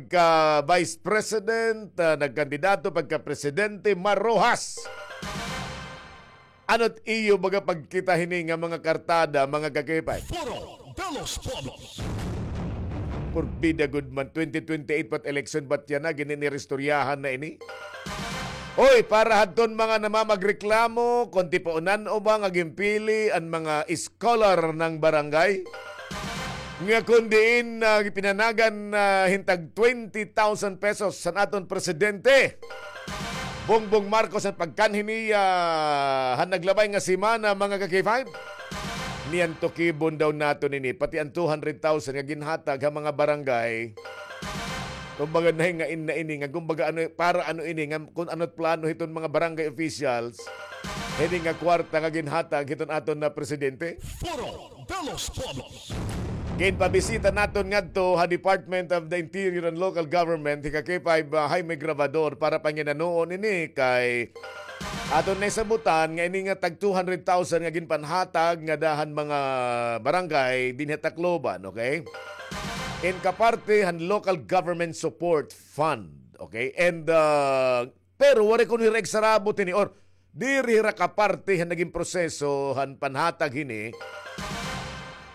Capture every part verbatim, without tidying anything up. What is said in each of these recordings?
pagka-vice president, ah, nagkandidato pagka-presidente, marohas. Ano't iyo baga pagkita hini nga mga kartada, mga kakipay? Foro de los Pueblos. Porbida gud man, twenty twenty-eight pa it eleksyon, ba't yana, gininiristoryahan na ini? Oy, para hadton mga namamagreklamo, kon tipaunan o ba nga ginpili an mga scholar ng barangay, nga kon diin, ah, pinanagan, ah, hin tag twenty thousand pesos san aton presidente Bongbong Marcos an pagkanhi niya han naglabay nga semana, mga ka-K five. Niyan tukibon daw naton ini, pati an two hundred thousand nga ginhatag ha mga barangay. Kumbaga, nahingain na ini nga, kumbaga, ano, para ano ini nga, kun ano't plano hiton mga barangay officials hini nga kwarta nga ginhatag hiton aton na presidente? Foro de los Pueblos. Ginpabisita naton ngadto ha Department of the Interior and Local Government, hi ka-K five, ah, Jaime Grabador, para panginanoon ini kay aton nahisabutan nga ini nga tag two hundred thousand nga ginpanhatag ngada han mga barangay dinhi ha Tacloban, okay? In kaparte han Local Government Support Fund, okay? And, ah, pero waray kuno hira igsarabot hini or diri hira kaparte han nagin proseso han panhatag hini,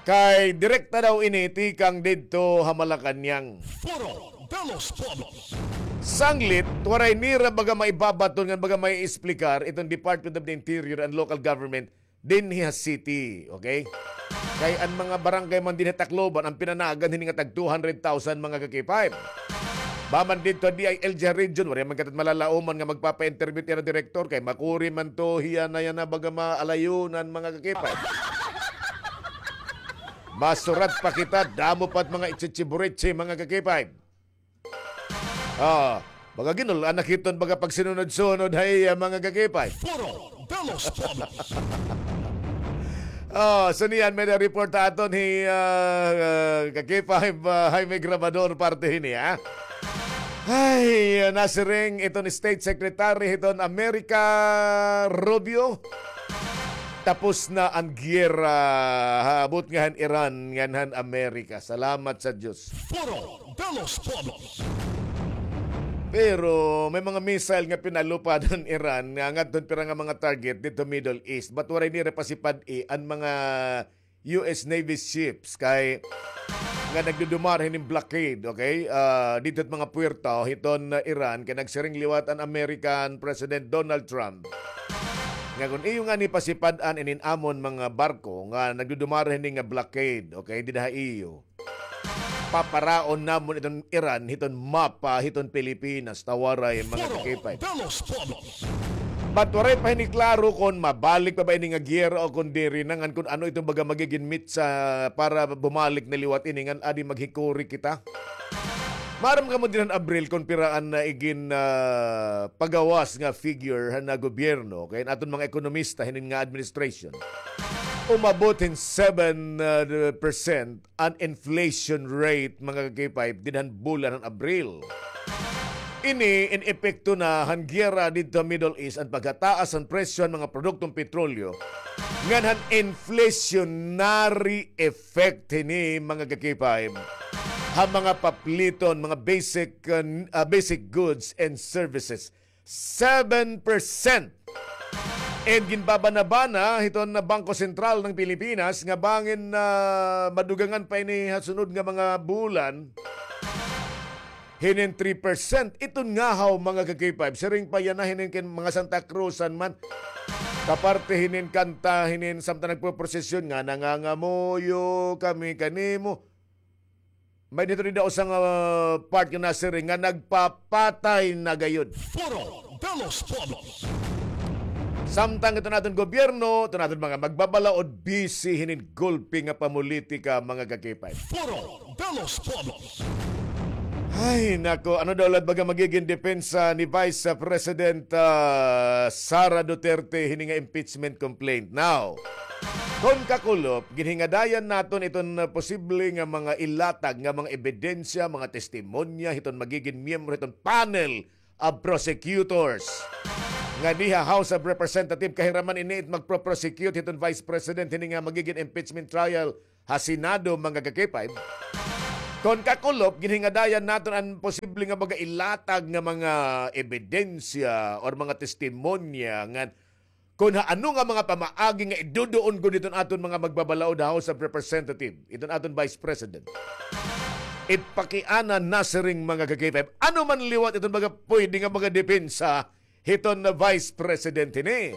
kay direkta daw ini tikang didto ha Malacañang. Foro de los Pueblos. Sanglit, waray nira baga maibabaton ngan baga maiexplikar iton Department of the Interior and Local Government dinhi ha city, okay? Kay an mga barangay man dinhi ha Tacloban an pinanagan hini nga tag two hundred thousand, mga ka-K five. Ba man didto ha D I L G ha region, waray man kita malalaoman nga magpapa-interview it ira direktor kay makuri man to hiya na yana baga maalayunan, mga ka-K five. Masurat pa kita, damo pa it mga ichichibureche, mga ka-K five. Ah, baga ginul-an na kita hin baga pagsinunod-sunod ha iya, mga ka-K five. Foro de los Pueblos. Oh, so niyan, may report aton hi, ah, ah, ka-K five, ah, Jaime Grabador parte hini, ha? Ay, nasiring iton State Secretary hiton America, Rubio. Tapos na an giyera ha abot nga han Iran ngan han Amerika. Salamat sa Diyos. Foro de los Pueblos. Pero may mga missile nga pinalupad han Iran nga ngadton pira nga mga target didto Middle East. But waray nira pasipad-i an mga U S Navy ships kay nga nagdudumar hinin blockade, okay? Ah, didto ha mga puwerto hiton, ah, Iran kay nagsiring liwat an American President Donald Trump nga kon iyo ngani pasipad-an inin amon mga barko nga nagdudumar hini nga blockade, okay, dida ha iyo, paparaon namon iton Iran hiton mapa hiton Pilipinas, ta waray, mga ka-K five. But waray pa hini klaro kon mabalik pa ba ini nga giyera o kon diri na, ngan kon ano iton baga magigin mitsa para bumalik na liwat ini ngan adi maghikuri kita. Maaram kamo dinhi han Abril kon pira an, ah, igin, ah, pagawas nga figure han, ah, gobyerno, kay an aton mga ekonomista hinin nga administration. Umabot hin seven, ah, percent an inflation rate, mga ka-K five, dinhi han bulan han Abril. Ini in epekto na han giyera didto ha Middle East, an pagkataas han presyo han mga produkton petrolyo, ngan han inflationary effect hini, mga ka-K five, ha mga papliton, mga basic, uh, uh, basic goods and services. Seven percent. And ginbabanabana hiton Bangko Sentral ng Pilipinas nga bangin, ah, madugangan pa ini ha sunod nga mga bulan hinin three percent. Iton ngahaw, mga ka-K five, siring pa yana hinin kin mga Santa Cruzan man. Kaparte hinin kanta, hinin samtang nagpoprosesyon nga nangangamuyo kami kanimo. May dito rin daw isang, ah, part nga nasiring nga nagpapatay na gayud. Foro de los Pueblos. Samtang ito naton gobyerno, ito naton mga magbabalaod, busy hinin gulpi nga pamulitika, mga ka-K five. Foro de los Pueblos. Ay, nako, ano daw lad baga magiging depensa ni Vice President, ah, Sara Duterte hini nga impeachment complaint? Now, kon kakulop, ginhingadayan naton iton, ah, posible nga mga ilatag nga mga ebidensya, mga testimonya hiton magiging miyembro hiton panel of prosecutors nga diha House of Representative, kahiraman ini it magpro-prosecute hiton Vice President hini nga magiging impeachment trial ha Senado, mga ka-K five. Kon kakulop, ginhingadayan naton an posible nga baga ilatag nga mga ebidensya or mga testimonya nga kon ha ano nga mga pamaagi nga iduduon gud iton aton mga magbabalaod ha House of Representative, iton aton Vice President. Ipakiana na siring mga ka-K five. Ano man liwat iton mga pwede nga mga depensa hiton na Vice President hini.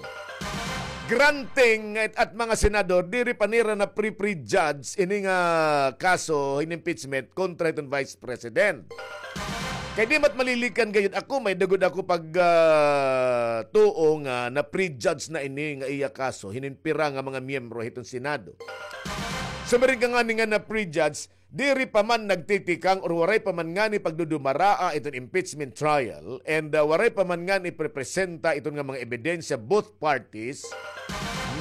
Granting at, at mga senador, diri pa nira na pre-prejudge ini nga kaso hin impeachment kontra hiton Vice President. Kay di mat malilikan gayud ako, may dagod ako pag, ah, tuo nga na-prejudge na ini nga iya kaso hinin pira nga mga miyembro hiton Senado. Sumiring ka ngani nga na-prejudge, diri pa man nagtitikang or waray pa man ngani pagdudumaraa iton impeachment trial, and, ah, waray pa man ngani iprepresenta iton nga mga ebidensya both parties,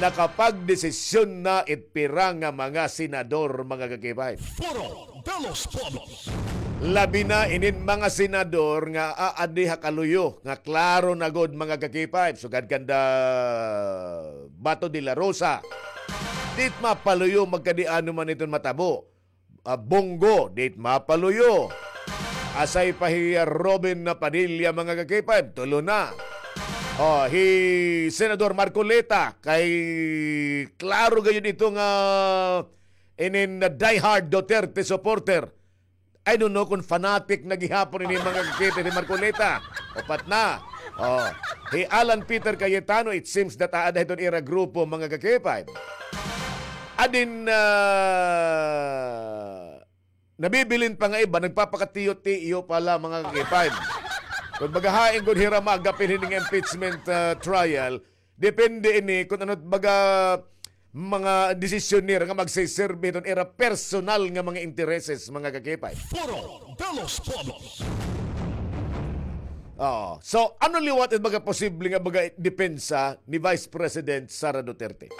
nakapagdesisyon na it pira nga mga senador, mga ka-K five. Foro de los Pueblos. Labi na inin mga senador nga aadi ha kaluyo, nga klaro na gud, mga ka-K five, sugad kanda Bato de la Rosa. Di it mapaluyo magkadi-ano man iton matabo. Ah, Bong Go, di it mapaluyo. Asay pa hi, ah, Robin Padilla, mga ka-K five, tulo na. Oh, hi Senador Marcoleta, kay klaro gayud ito nga inin diehard Duterte supporter. I don't know kung fanatic na gihapon ini, mga ka-K five, ni Marcoleta. Upat na. Oh, hi Alan Peter Cayetano, it seems that aada hiton ira grupo, mga ka-K five. Adin, ah, nabibilin pa nga iba, nagpapakatiyo-tiyo pa la, mga ka-K five. Kung bagahain gud hira maagap hini nga impeachment, ah, trial, depende ini kung ano baga mga desisyon nira nga magsiserbi hiton ira personal nga mga intereses, mga ka-K five. Foro de los Pueblos. Oo. So, ano liwat it baga posible nga baga depensa ni Vice President Sara Duterte?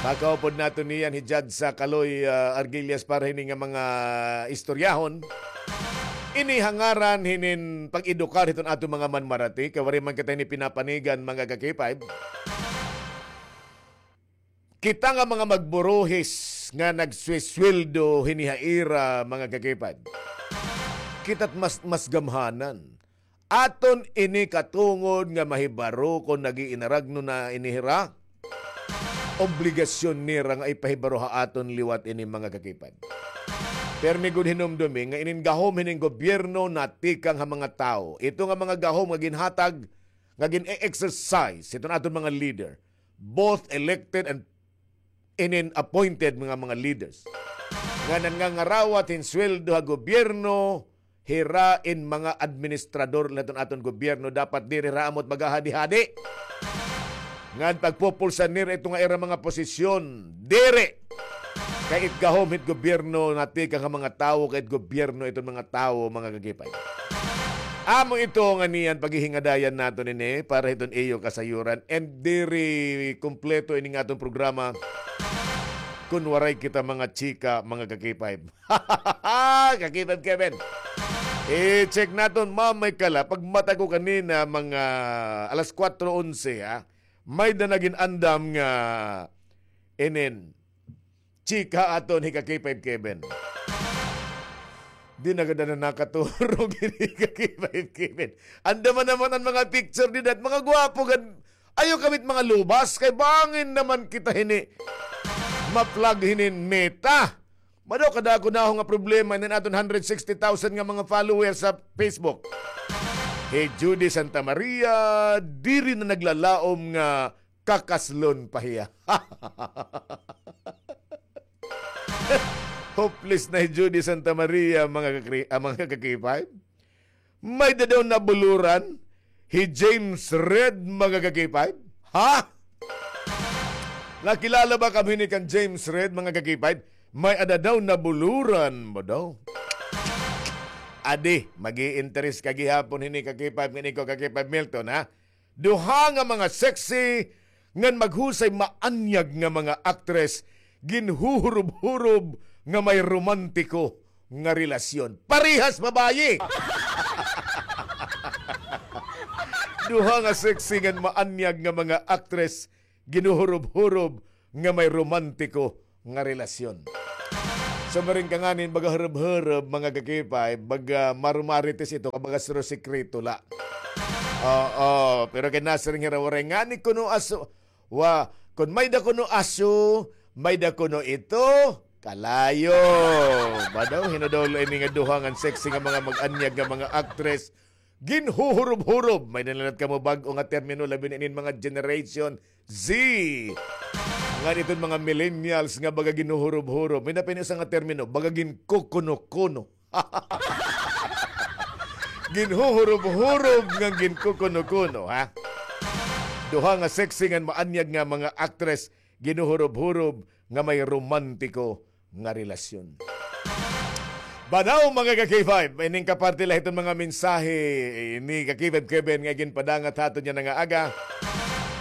Makaupod naton niyan hi Judge sa Kaloy, ah, Argillas para hini nga mga istoryahon. Ini ha ngaran hinin pag-edukar hiton aton mga manmarati, kay waray man kita hini pinapanigan, mga ka-K five. Kita nga mga magburuhis nga nagswisweldo hini ha ira, mga ka-K five. Kita't mas, mas gamhanan. Aton ini katungod nga mahibaro kon nag-iinaragno na ini hira. Obligasyon nira nga ipahibaro ha aton liwat ini, mga ka-K five. Pirmi gud hinumdumi nga inin gahom hining gobyerno natikang ha mga tawo. Ito nga mga gahom nga ginhatag, nga gin-exercise hiton aton mga leader, both elected and inin appointed mga, mga leaders, nga nangangarawat hin sweldo ha gobyerno, hira in mga administrador la hiton aton gobyerno, dapat diri hira amot maghahadi-hadi. Ngan pagpupulsan nira ito nga ira mga posisyon, diri. Kay it gahom hit gobyerno natikang ha mga tawo, kay it gobyerno iton mga tawo, mga ka-K five. Amo ito nga niyan paghihingadayan naton ini para hiton iyo kasayuran. And diri kumpleto ini nga aton programa kun waray kita mga chika, mga ka-K five. Ka-K five Kevin. I-check naton mamay kala. Pagmata ko kanina, mga alas kwatro onse, ha? May-ada na gin-andam nga inin chika aton hi ka-K five Kevin. Di na gad na nakaturog ini ka-K five Kevin. Andam man naman an mga picture dida, mga gwapo gad. Ayaw kami it mga lubas, kay bangin naman kita hini ma-flag hinin Meta. Madaw kadako naho nga problema inin aton hundred sixty thousand nga mga followers sa Facebook. Hi Judy Santa Maria, diri na naglalaom nga kakaslon pa hiya. Hopeless na hi Judy Santa Maria, mga kakri-, ah, mga ka-K five. May-ada daw nabuluran hi James Reid, mga ka-K five. Ha? Nakilala ba kamo hini kan James Reid, mga ka-K five? May-ada daw nabuluran ba daw? Adi, mag-i-interest ka gihapon hini ka-K five, ngan ikaw ka-K five Milton, ha? Duha nga mga sexy ngan maghusay maanyag nga mga aktres, ginhuhurob-hurob nga may romantiko nga relasyon. Parehas babayi! Duha nga sexy ngan maanyag nga mga aktres, ginhuhurob-hurob nga may romantiko nga relasyon. Sumiring ka ngani hin baga hurob-hurob, mga ka-K five, baga marumarites ito, ka baga suro sikreto la. Oo, pero kay nasiring hira waray ngani kuno aso, wa, kon may-da kuno aso, may-da kuno ito, kalayo. Ba daw, hin-o daw la ini nga duha ngan sexy nga mga mag-anyag nga mga actress, ginhuhurob-hurob. May-ada na la kamo bag-o nga termino, labi na inin mga Generation Z. Ngan iton mga millennials nga baga ginhuhurob-hurob. May-ada pa ini usa nga termino, baga ginkukuno-kuno. Ginhuhurob-hurob ngan ginkukuno-kuno, ha? Duha nga sexy ngan maanyag nga mga actress, ginhuhurob-hurob nga may romantiko nga relasyon. Banaw, mga ka-K five, ining kaparte la hiton mga mensahe ni ka-K five Kevin nga ginpadangat ha aton yana nga aga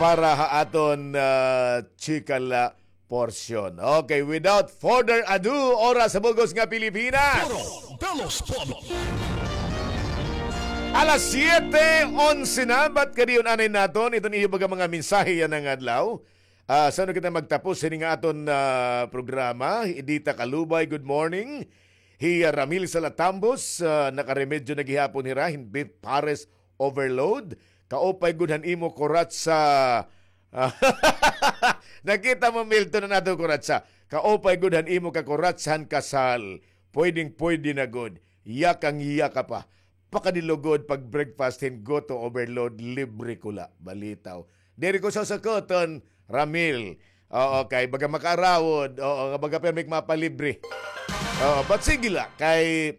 para ha aton, ah, chika la porsyon. Okay, without further ado, oras sa bug-os nga Pilipinas. Puro de los Pueblos. Alas siyete onse na, bat kadiyon anay naton iton iyo baga mga mensahe yana nga adlaw. Ah, san-o kita magtapos hini nga aton, ah, programa? Hi Edita Kalubay, good morning. Hi, ah, Ramil Salatambos, ah, nakaremedyo na gihapon hira hin beef pares overload. Kaupay gud han imo kuratsa. Nakita mo, Milton, an ato kuratsa. Kaupay gud han imo kakuratsa han kasal. Pwedeng-pwede na gud. Yakang-yaka pa. Pakadilugod pag-breakfast hin goto overload, libre ko la. Balitaw. Diri ko sasukuton, Ramil. Oo, kay baga makaarawod. Oo, nga baga pirmi ak mapalibre. Oo, but sige la, kay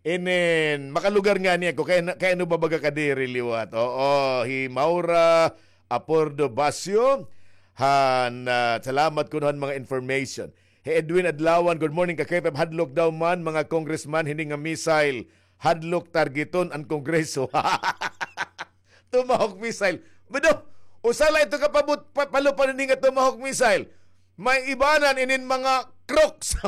inin, makalugar ngani ako, kay, kay ano ba baga kadiri liwat? Oo, hi Maura Apordo Basio, han, ah, salamat kuno han mga information. Hi Edwin Adlawan, good morning, ka-K five, hadlok daw man, mga congressman, hini nga missile. Hadlok targeton an Kongreso. Tomahawk missile. Bado, usa la ito ka pabut-, pa-, palupan ini nga Tomahawk missile. May ibanan inin mga Crocs.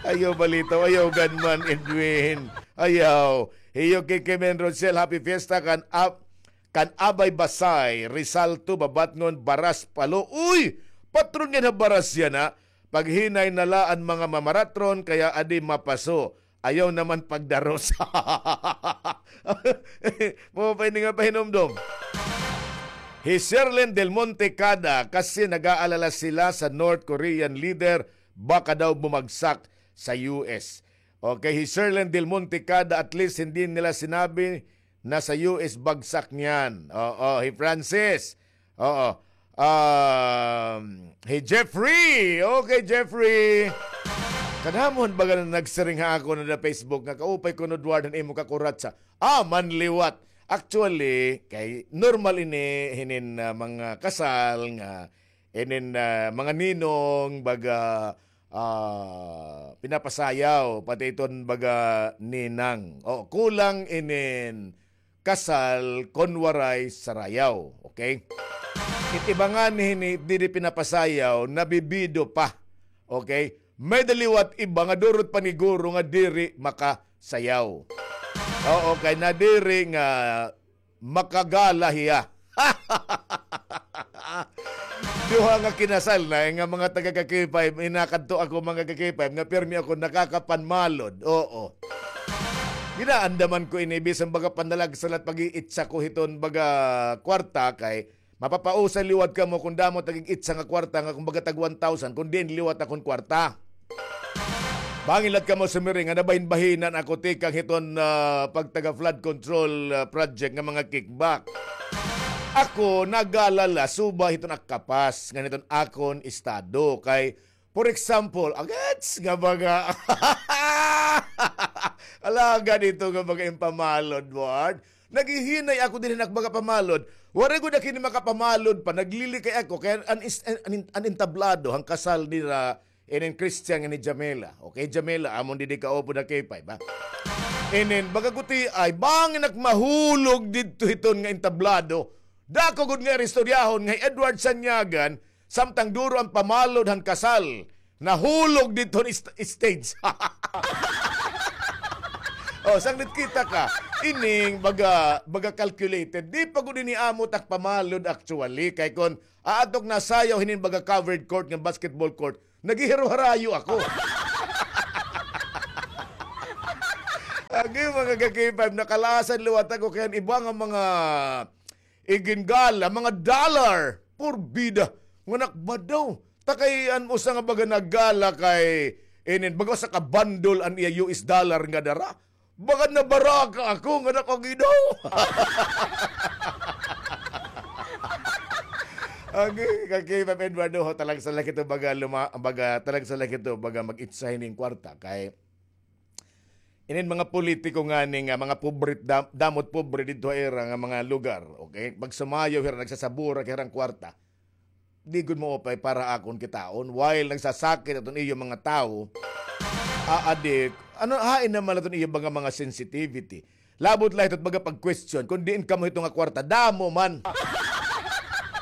Ayaw balitaw, ayaw gunman, Edwin. Ayaw. Hiyo kay Kemen Rosel, happy fiesta kan ap-, kan Abay Basay, Rizal to, Babatngon, Baras, Palo. Uy! Patron nga na Baras yana. Paghinay na la an mga mamaratron, kaya adi mapaso. Ayaw naman pagdaros. Mao pa ini nga pahinumdom. Hi Sherlyn Del Monte Cada, kasi nag-aalala sila sa North Korean leader, baka daw bumagsak sa U S. Okay, hi Sherlyn Del Monte Cada, at least hindi nila sinabi na sa U S bagsak niyan. Oo, hi Francis. Oo. Um, hi Jeffrey. Okay, Jeffrey. Kadamo han baga nga nagsiring ha akon ha Facebook nga kaupay kuno, Edward, han imo kakuratsa. Ah, man liwat. Actually, kay normal ini hinin, ah, mga kasal nga inin, ah, mga ninong baga, ah, pinapasayaw, pati iton baga ninang. O, kulang inin kasal kon waray sarayaw, okay? It iba ngani hini, diri pinapasayaw, nabibido pa, okay? May-ada liwat iba nga durot paniguro nga diri makasayaw. Oo, kay nadiri nga makagala hiya. Duha nga kinasal na, eh, nga mga taga ka-K five, inakadto ako, mga ka-K five, nga pirmi ako nakakapanmalod. Oo. Ginaandaman ko ini, bisan baga panalagsalat pag-iitsa ko hiton baga kwarta, kay mapapausay liwat kamo kon damo tag-iitsa nga kwarta nga kumbaga tag one thousand, kon diin liwat akon kwarta. Bangin la kamo sumiring nga nabahinbahinan ako tikang hiton, ah, pagtaga flood control, ah, project nga mga kickback. Ako, nag-aalala, suba hiton ak kapas, ngan hiton akon estado. Kay, for example, agats nga baga, alagad ito nga baga impamalod, Ward. Naghihinay ako dinhi hin ak baga pamalod. Waray gud ak hini makapamalod pa, naglilikay ako. Kay an, an, an, an entablado, han kasal nira, inin Christian nga ni Jamela. Okay, Jamela, amon didi kaupod ha K five, ha? Inin, baga gutiay, bangin ak mahulog didto hiton nga entablado. Dako gud nga istoryahon nga hi Edward Sanyagan, samtang duro an pamalod han kasal, nahulog didto han ist-, stage. O, sanglit kita ka, ining baga, baga calculated. Di pa gud ini amo tak pamalod actually, kay kon aadto ak nasayaw hinin baga covered court nga basketball court, Naghihiro-harayo ako. Agi, mga ka-K five, nakalasan liwat ako kay an iba nga mga igingala, mga dollar, purbida. Nga nakbadaw. Ta kay an usa nga baga naggala kay inin, baga usa ka bandol an iya U S dollar nga dara. Baga nabaraka ako nga nakagidaw. Agi, ka-K five Eduardo, ho, talag sa laki to baga luma-, baga, talag sa laki to baga mag-itsa hining kwarta kay inin mga politiko ngani nga mga pobre, dam-, damot pobre didto ha ira nga mga lugar, okay? Pag sumayaw hira, nagsasabura kay hirang kwarta. Di gud maupay para akon kitaon, while nagsasakit aton iyo mga tawo, aadik, ano, hain naman aton iyo mga, mga sensitivity. Labot la hito baga pag-question, kon diin kamo hito nga kwarta, damo man.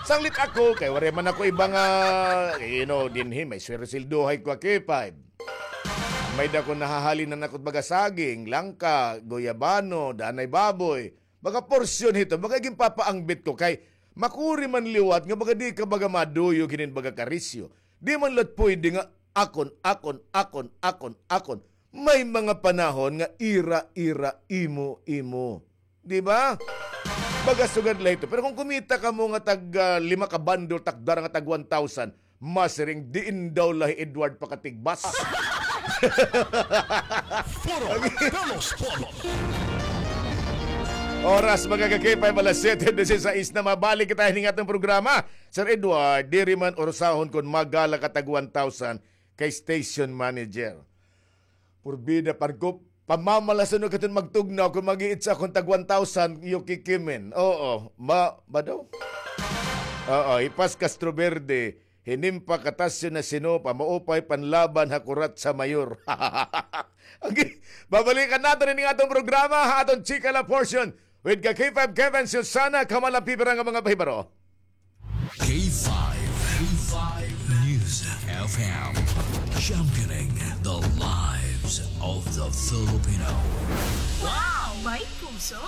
Sanglit ako, kay waray man ako iba nga, you know, dinhi, may sweldohay ko, K five. May-ada ko nahahalinan ako baga saging, langka, guyabano, danay baboy. Baga porsyon hito, baga ginpapaangbit ko kay makuri man liwat nga baga di ka baga maduyog hinin baga karisyo. Di man liwat pwede nga akon, akon, akon, akon, akon. May mga panahon nga ira, ira, imo, imo. Di ba? Baga sugad la hito. Pero kon kumita kamo nga tag, ah, lima ka bundle, takdara nga tag one thousand, masiring, diin daw la hi Edward pakatigbas. Puro de los Polos. Oras, mga ka-K five, alas siyete disisais na. Mabalik kita hining aton programa. Sir Edward, diri man urusahon kon maggala ka tag one thousand kay station manager. Purbida, pan ko, pamamalason ko katon magtugnaw kon mag-iitsa akon tag one thousand, iyo kikimin. Oo, ma-, ba daw? Oo, Hipas Castroverde, hinimpa katasyo na sinopa, maupay panlaban ha kurat sa mayor. Okay, babalikan naton ini nga aton programa, ha aton Chika La Portion, with ka K five Kevin Susana, kamalapipira nga mga pahibaro. K five, K five News F M, championing the lives of the Filipino. Wow! May puso!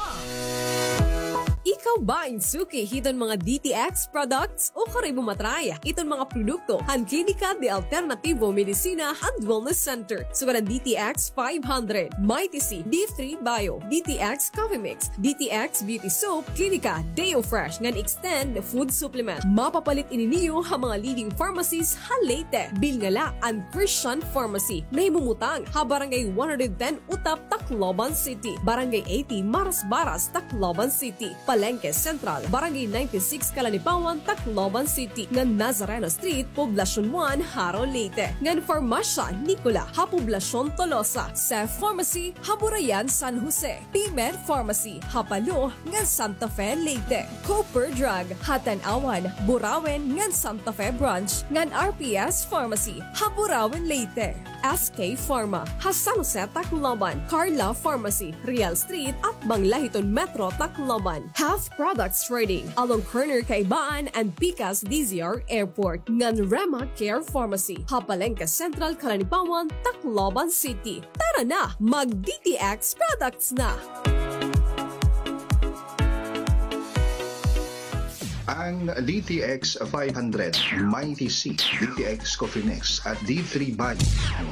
Ikaw ba in suki hiton mga D T X products? Ukari mo matry iton mga produkto han Klinika de Alternativo Medicina and Wellness Center. Sugad an D T X five hundred, Mighty C, D three Bio, D T X Coffee Mix, D T X Beauty Soap, Klinika Deo Fresh ngan Extend Food Supplement. Mapapalit ini niyo ha mga leading pharmacies ha Leyte. Bilngala an Christian Pharmacy, nahimumutang ha Barangay one hundred ten Utap, Tacloban City, Barangay eighty Marasbaras, Tacloban City, Palengke Central, Barangay ninety-six Calanipawan, Tacloban City, ngan Nazareno Street, Poblacion one, Jaro, Leyte, ngan Farmasya Nicola ha Poblacion Tolosa, Seth Pharmacy ha Burayan, San Jose, P-Med Pharmacy ha Palo ngan Santa Fe, Leyte, Cooper Drug ha Tanauan, Burauen ngan Santa Fe Branch, ngan R P S Pharmacy ha Burauen, Leyte. S K Pharma ha San Jose, Tacloban, Carla Pharmacy, Real Street, atbang la hiton Metro Tacloban. Half Products Trading, along corner Kaibaan and Pikas D Z R Airport, ngan Rema Care Pharmacy ha Palengke Central, Calanipawan, Tacloban City. Tara na, mag D T X products na! Ang D T X five hundred, Mighty C, D T X Coffee Mix at D three Bio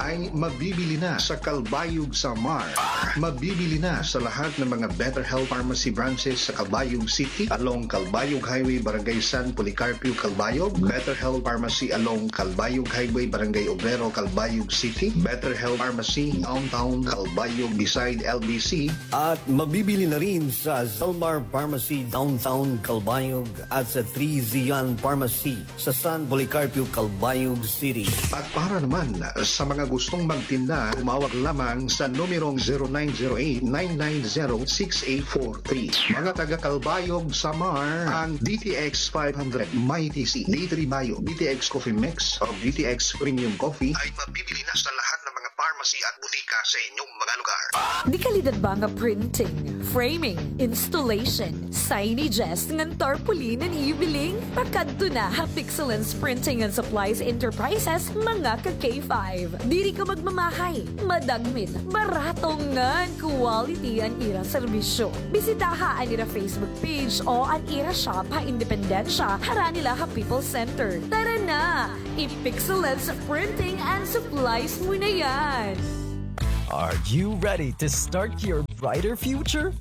ay mabibili na sa Calbayog, Samar. Mabibili na sa lahat ng mga Better Health Pharmacy branches sa Calbayog City, along Calbayog Highway, Barangay San Policarpio, Calbayog, Better Health Pharmacy along Calbayog Highway, Barangay Obrero, Calbayog City, Better Health Pharmacy Downtown Calbayog beside L B C, at mabibili na rin sa Zalmar Pharmacy Downtown Calbayog at sa Three Zion Pharmacy sa San Policarpio, Calbayog City. At para naman sa mga gustong magtinda, tumawag lamang sa numerong zero nine zero eight, nine nine zero, six eight four three. Mga taga Calbayog, Samar, ang D T X five hundred, Mighty C, D three Bio, D T X Coffee Mix, o D T X Premium Coffee ay mabibili na sa lahat ng mga pharmacy Pharmacy at butika sa inyong mga lugar. Dekalidad ba nga printing, framing, installation, signages ngan tarpaulin an iyo biling? Pakadto na ha Pixelance Printing and Supplies Enterprises, mga ka K five. Diri ka magmamahay, madagmit, barato ngan quality an ira serbisyo. Bisitaha an ira Facebook page o an ira shop ha Independencia, harani la ha People's Center. Tara na! I-Pixelance Printing and Supplies mo na yan! Are you ready to start your brighter future?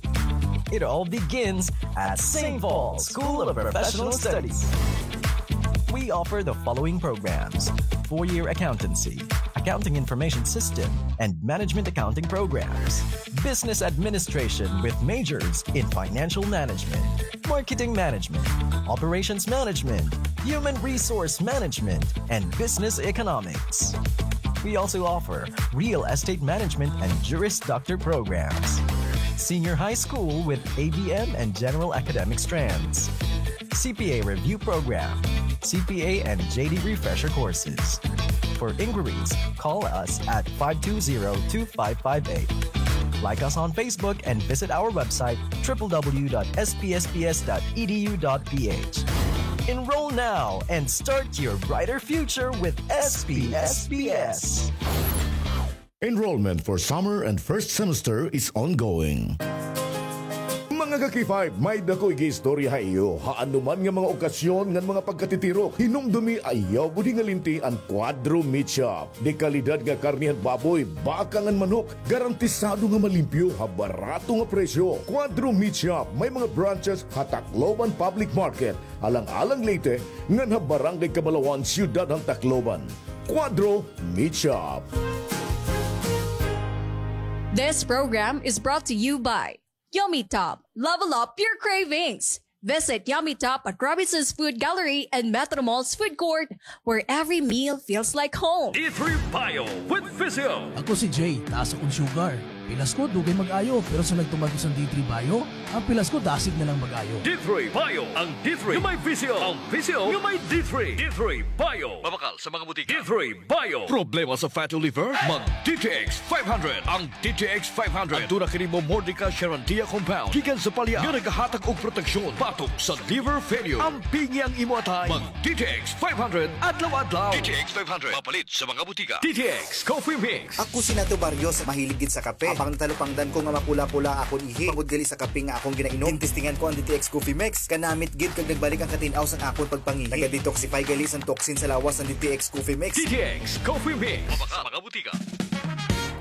It all begins at Saint Paul School of Professional Studies. We offer the following programs: four-year accountancy, accounting information system, and management accounting programs, business administration with majors in financial management, marketing management, operations management, human resource management, and business economics. We also offer real estate management and Juris Doctor programs, senior high school with A B M and general academic strands, C P A review program, C P A and J D refresher courses. For inquiries, call us at five two zero two five five eight. Like us on Facebook and visit our website, triple W dot S P S P S dot E D U dot P H. Enroll now and start your brighter future with S P S P S. Enrollment for summer and first semester is ongoing. Mga ka-K five, may-ada ko igiistorya ha iyo. Ha anoman nga mga okasyon ngan mga pagkatitirok, hinumdumi, ayaw budi nga linti an Cuadro Meat Shop. Dekalidad nga karne han baboy, baka ngan manok, garantisado nga malimpyo ha barato nga presyo. Cuadro Meat Shop may mga branches ha Tacloban Public Market, Alang-alang, Leyte, ngan ha Barangay Cabalawan, Siyudad han Tacloban. Cuadro Meat Shop. This program is brought to you by Yummy Top. Level up your cravings. Visit Yummy Top at Robinson's Food Gallery and Metro Mall's Food Court, where every meal feels like home. D three Bio with Physio. Ako si Jay, taas akon sugar. Pilas ko, dugay mag-ayo, pero sa nagtuman ko sa D three Bio, ang pilas ko dasig na lang mag-ayo. D three Bio, ang D three nga may Physio, ang Physio nga may D three. D three Bio. Mabakal sa mga butika. D three Bio. Problema sa fatty liver? Mag D T X five hundred. Ang D T X five hundred. Aduna kini Momordica charantia compound gikan sa palya nga nagahatag og proteksyon batok sa liver failure. Ampingi ang imo atay. Mag D T X five hundred adlaw-adlaw. D T X five hundred. Mapalit sa mga butika. D T X Coffee Mix. Ako si Nato Barrios, mahilig gid sa kape. Apang natalupangdan ko nga mapula-pula akon ihi tungod gali sa kape nga akon ginainom. Ginestingan ko an D T X Coffee Mix. Kanamit gid kag nagbalik an katin-aw sang akon pagpangihi. Naga-detoxify gali sang toxin sa lawas an D T X Coffee Mix. D T X Coffee Mix. Mabakal sa mga butika.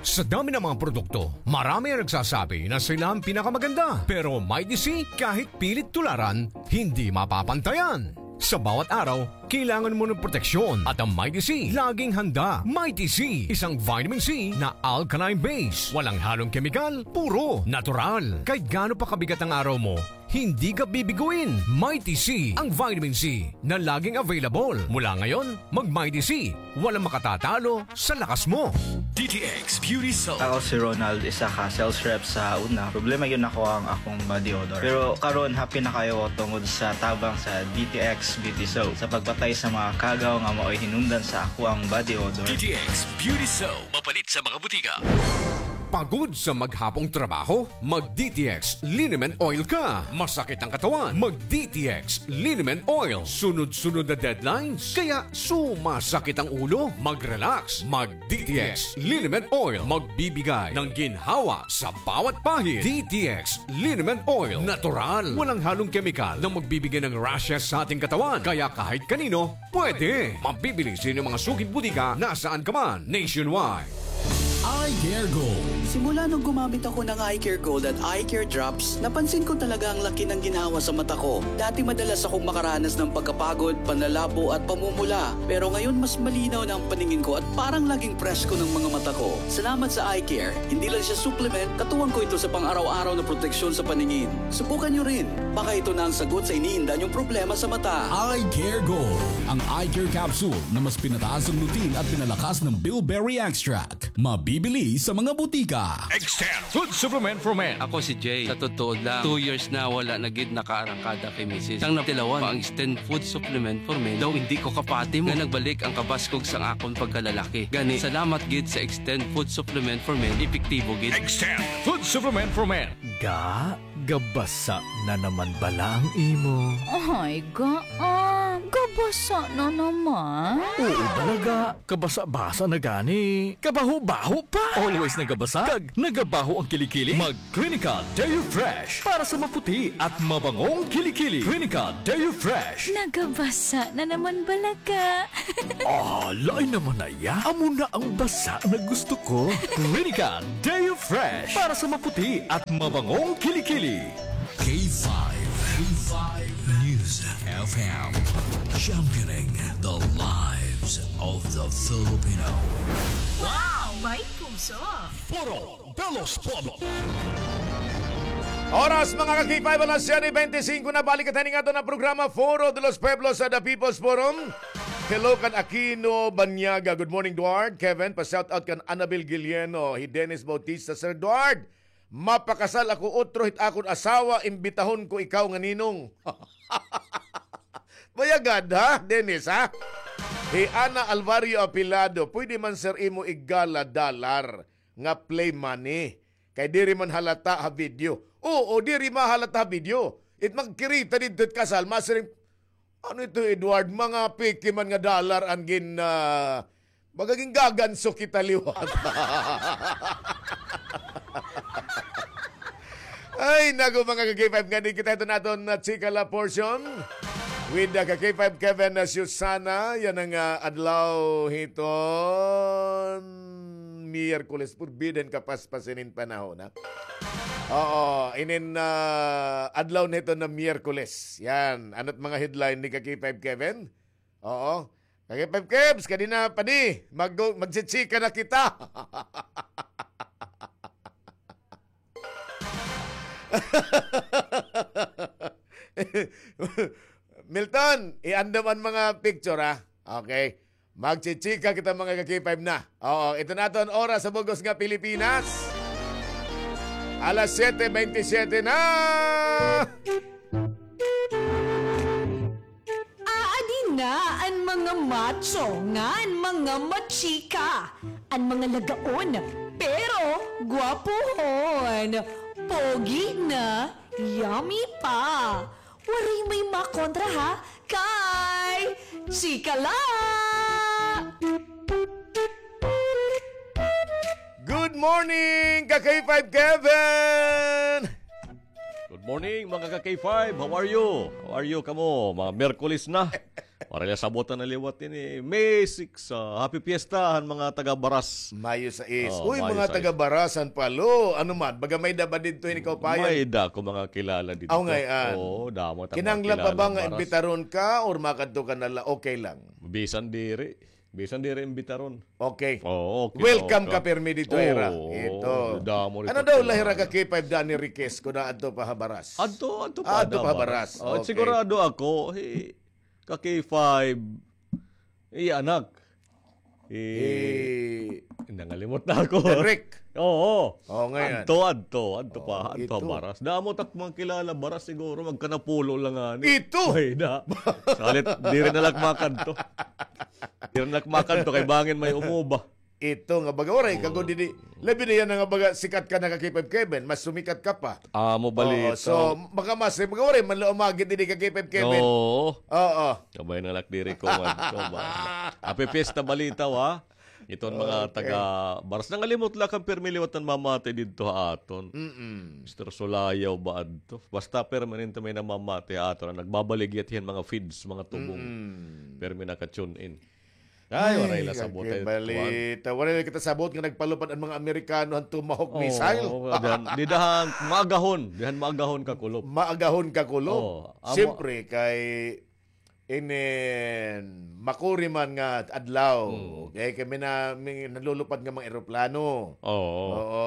Sa dami ng mga produkto, marami ang nagsasabi na sila ang pinakamaganda. Pero Mighty C, kahit pilit tularan, hindi mapapantayan. Sa bawat araw, kailangan mo ng proteksyon at ang Mighty C, laging handa. Mighty C, isang vitamin C na alkaline base. Walang halong kemikal, puro natural. Kahit gaano pa kabigat ang araw mo, hindi ka bibiguin. Mighty C, ang vitamin C na laging available. Mula ngayon, mag-Mighty C. Walang makatatalo sa lakas mo. D T X Beauty Soap. Ako si Ronald, isa ka sales rep sa una. Problema gyud nako ang akong body odor. Pero karon, happy na kaayo ko tungod sa tabang sa D T X Beauty Soap sa pagpatay sa mga kagaw nga maoy hinungdan sa akoang body odor. D T X Beauty Soap. Mapalit sa mga butika. Pagod sa maghapong trabaho? Mag D T X Liniment Oil ka. Masakit ang katawan? Mag D T X Liniment Oil. Sunod-sunod na deadlines? Kaya sumasakit ang ulo? Mag-relax. Mag D T X Liniment Oil. Magbibigay ng ginhawa sa bawat pahid. D T X Liniment Oil. Natural. Walang halong kemikal na magbibigay ng rashes sa ating katawan. Kaya kahit kanino, pwede. Mabibili sa inyong mga suking butika nasaan ka man, nationwide. Eye Care Gold. Simula nung gumamit ako ng Eye Care Gold at Eye Care Drops, napansin ko talaga ang laki ng ginhawa sa mata ko. Dati madalas akong makaranas ng pagkapagod, panlalabo at pamumula. Pero ngayon mas malinaw na ang paningin ko at parang laging presko ng mga mata ko. Salamat sa Eye Care. Hindi lang siya supplement, katuwang ko ito sa pang-araw-araw na proteksyon sa paningin. Subukan nyo rin. Baka ito na ang sagot sa iniinda nyong problema sa mata. Eye Care Gold. Ang Eye Care Capsule na mas pinataas ang lutein at pinalakas ng bilberry extract. Mabibili sa mga butika. Extend Food Supplement for Men. Ako si Jay. Sa totoo lang, two years na wala na gid nakaarangkada kay misis. Sang natilawan pa ang Extend Food Supplement for Men, daw hindi ko kapati mo nga nagbalik ang kabaskog sang akon pagkalalaki. Gani, salamat gid sa Extend Food Supplement for Men, epektibo gid. Extend Food Supplement for Men. Ga, gabasa na naman bala ang imo. Ay, ga, ah, gabasa na naman. Oo, bala ga. Kabasa-basa na gani. Kabaho-baho pa. Always nagabasa. Kag nagabaho ang kilikili. Mag Clinica Deo Fresh para sa maputi at mabangong kilikili. Clinica Deo Fresh. Nagabasa na naman bala ga. Ah, lain naman na iya. Amo na ang basa na gusto ko. Clinica Deo Fresh para sa maputi at mabangong kilikili. K five, K five News F M, championing the lives of the Filipino. Wow! May puso! Foro de los Pueblos. Oras, mga ka-K five, alas siyete bente singko na. Balik kita ning aton nga programa, Foro de los Pueblos, sa The People's Forum. Hello kan Aquino Banyaga. Good morning, Duard. Kevin, pa-shout out kan Annabel Guilieno. Hi Dennis Bautista, Sir Duard, mapakasal ako, utro hit akon asawa, imbitahon ko ikaw nga ninong. Bayagad, ha, Dennis, ha? Hi Ana Alvario Apilado, pwede man, sir, imo igala dalar nga play money. Kay diri man halata ha video. Oo, diri mahalata ha video. It magkirita didto it kasal, masiring, ano ito, Edward? Mga peke man nga dollar an gin, ah, baga gingaganso kita liwat. Ay, naku, mga ka-K five, ngani kita iton aton, ah, chika la portion. With the ka-K five Kevin, ah, Susana, yana nga, ah, adlaw hiton Miyerkules, forbidden kapaspasin in panahon, ha? Oo, inin, ah, adlaw na hiton nga Miyerkules. Yan, ano't mga headline ni ka-K five Kevin? Oo. Ka-K five Kevs, kadi na, padi. Mag-, magchichika na kita. Milton, iandam an mga picture, ha? Okay. Magchichika kita, mga ka-K five na. Oo, ito na aton oras sa bug-os nga Pilipinas. Alas siyete bente siyete na. Aadi na an mga macho ngan mga machika, an mga lagaon, pero gwapohon, pogi na, yummy pa. Waray may makontra, ha, kay chika la! Good morning, ka-K five Kevin! Good morning, mga ka-K five. How are you? How are you kamo? Mga Miyerkules na. Waray la sabot na liwat ini. May six, ah, happy fiesta han mga taga Baras. Mayo sais. Oh, uy, Mayo mga sais. Taga Baras han Palo. Ano man, baga may-ada ba didto hini kaupayan? May-ada ako mga kilala didto. Aw, ngay-an. Oo, damo ta mga kilala Baras. Kinahanglan pa ba nga imbitaron ka or makadto ka na la, okay lang? Bisan diri. Bisan diri imbitaron. Okay. Oo, okay, welcome ka pirmi didto, ira. Oo, ito. Damo didto. Ano daw la hira ka-K five, Danny Riquez, kun adto pa ha Baras? Adto, adto pa ha Baras. Oh, okay. Sigurado ako, hi, ka-K five, iya anak. Hi, nangalimot na ako. Rick. Oo. Oh, ngay-an. Adto, adto, adto pa, adto ha Baras. Damo tak mga kilala Baras siguro, magkanapulo la ngani. Ito. May-ada. Salit, diri na la makadto. Diri na la makadto kay bangin may umuba. Ito nga baga, waray ka gud didi. Labi na yana nga baga, sikat ka na ka-K five Kevin, mas sumikat ka pa. Amo balita. Oo, so, baka mas, baga waray man la umagit didi ka-K five Kevin. Oo. Oo. Kabay na la diri ko man. Happy fiesta balita, ha? Iton mga taga Baras. Nangalimot la kan pirmi liwat namamati didto ha aton. Mm-mm. Mister Sulayaw ba adto? Basta permanente may namamati ha aton. Nagbabaligya hiya hin mga feeds, mga tubong. Mm-mm. Permi naka-tune in. Ay, waray la sabot, eh, balita. Waray la kita sabot nga nagpalupad an mga Amerikano han Tomahawk missile. Oo, dihan, dihan maagahon, dihan maagahon kakulop. Maagahon kakulop. Oo, amo. Siyempre, kay inin makuri man nga adlaw. Mm. Kay kami na, may nalulupad nga mga eroplano. Oo. Oo.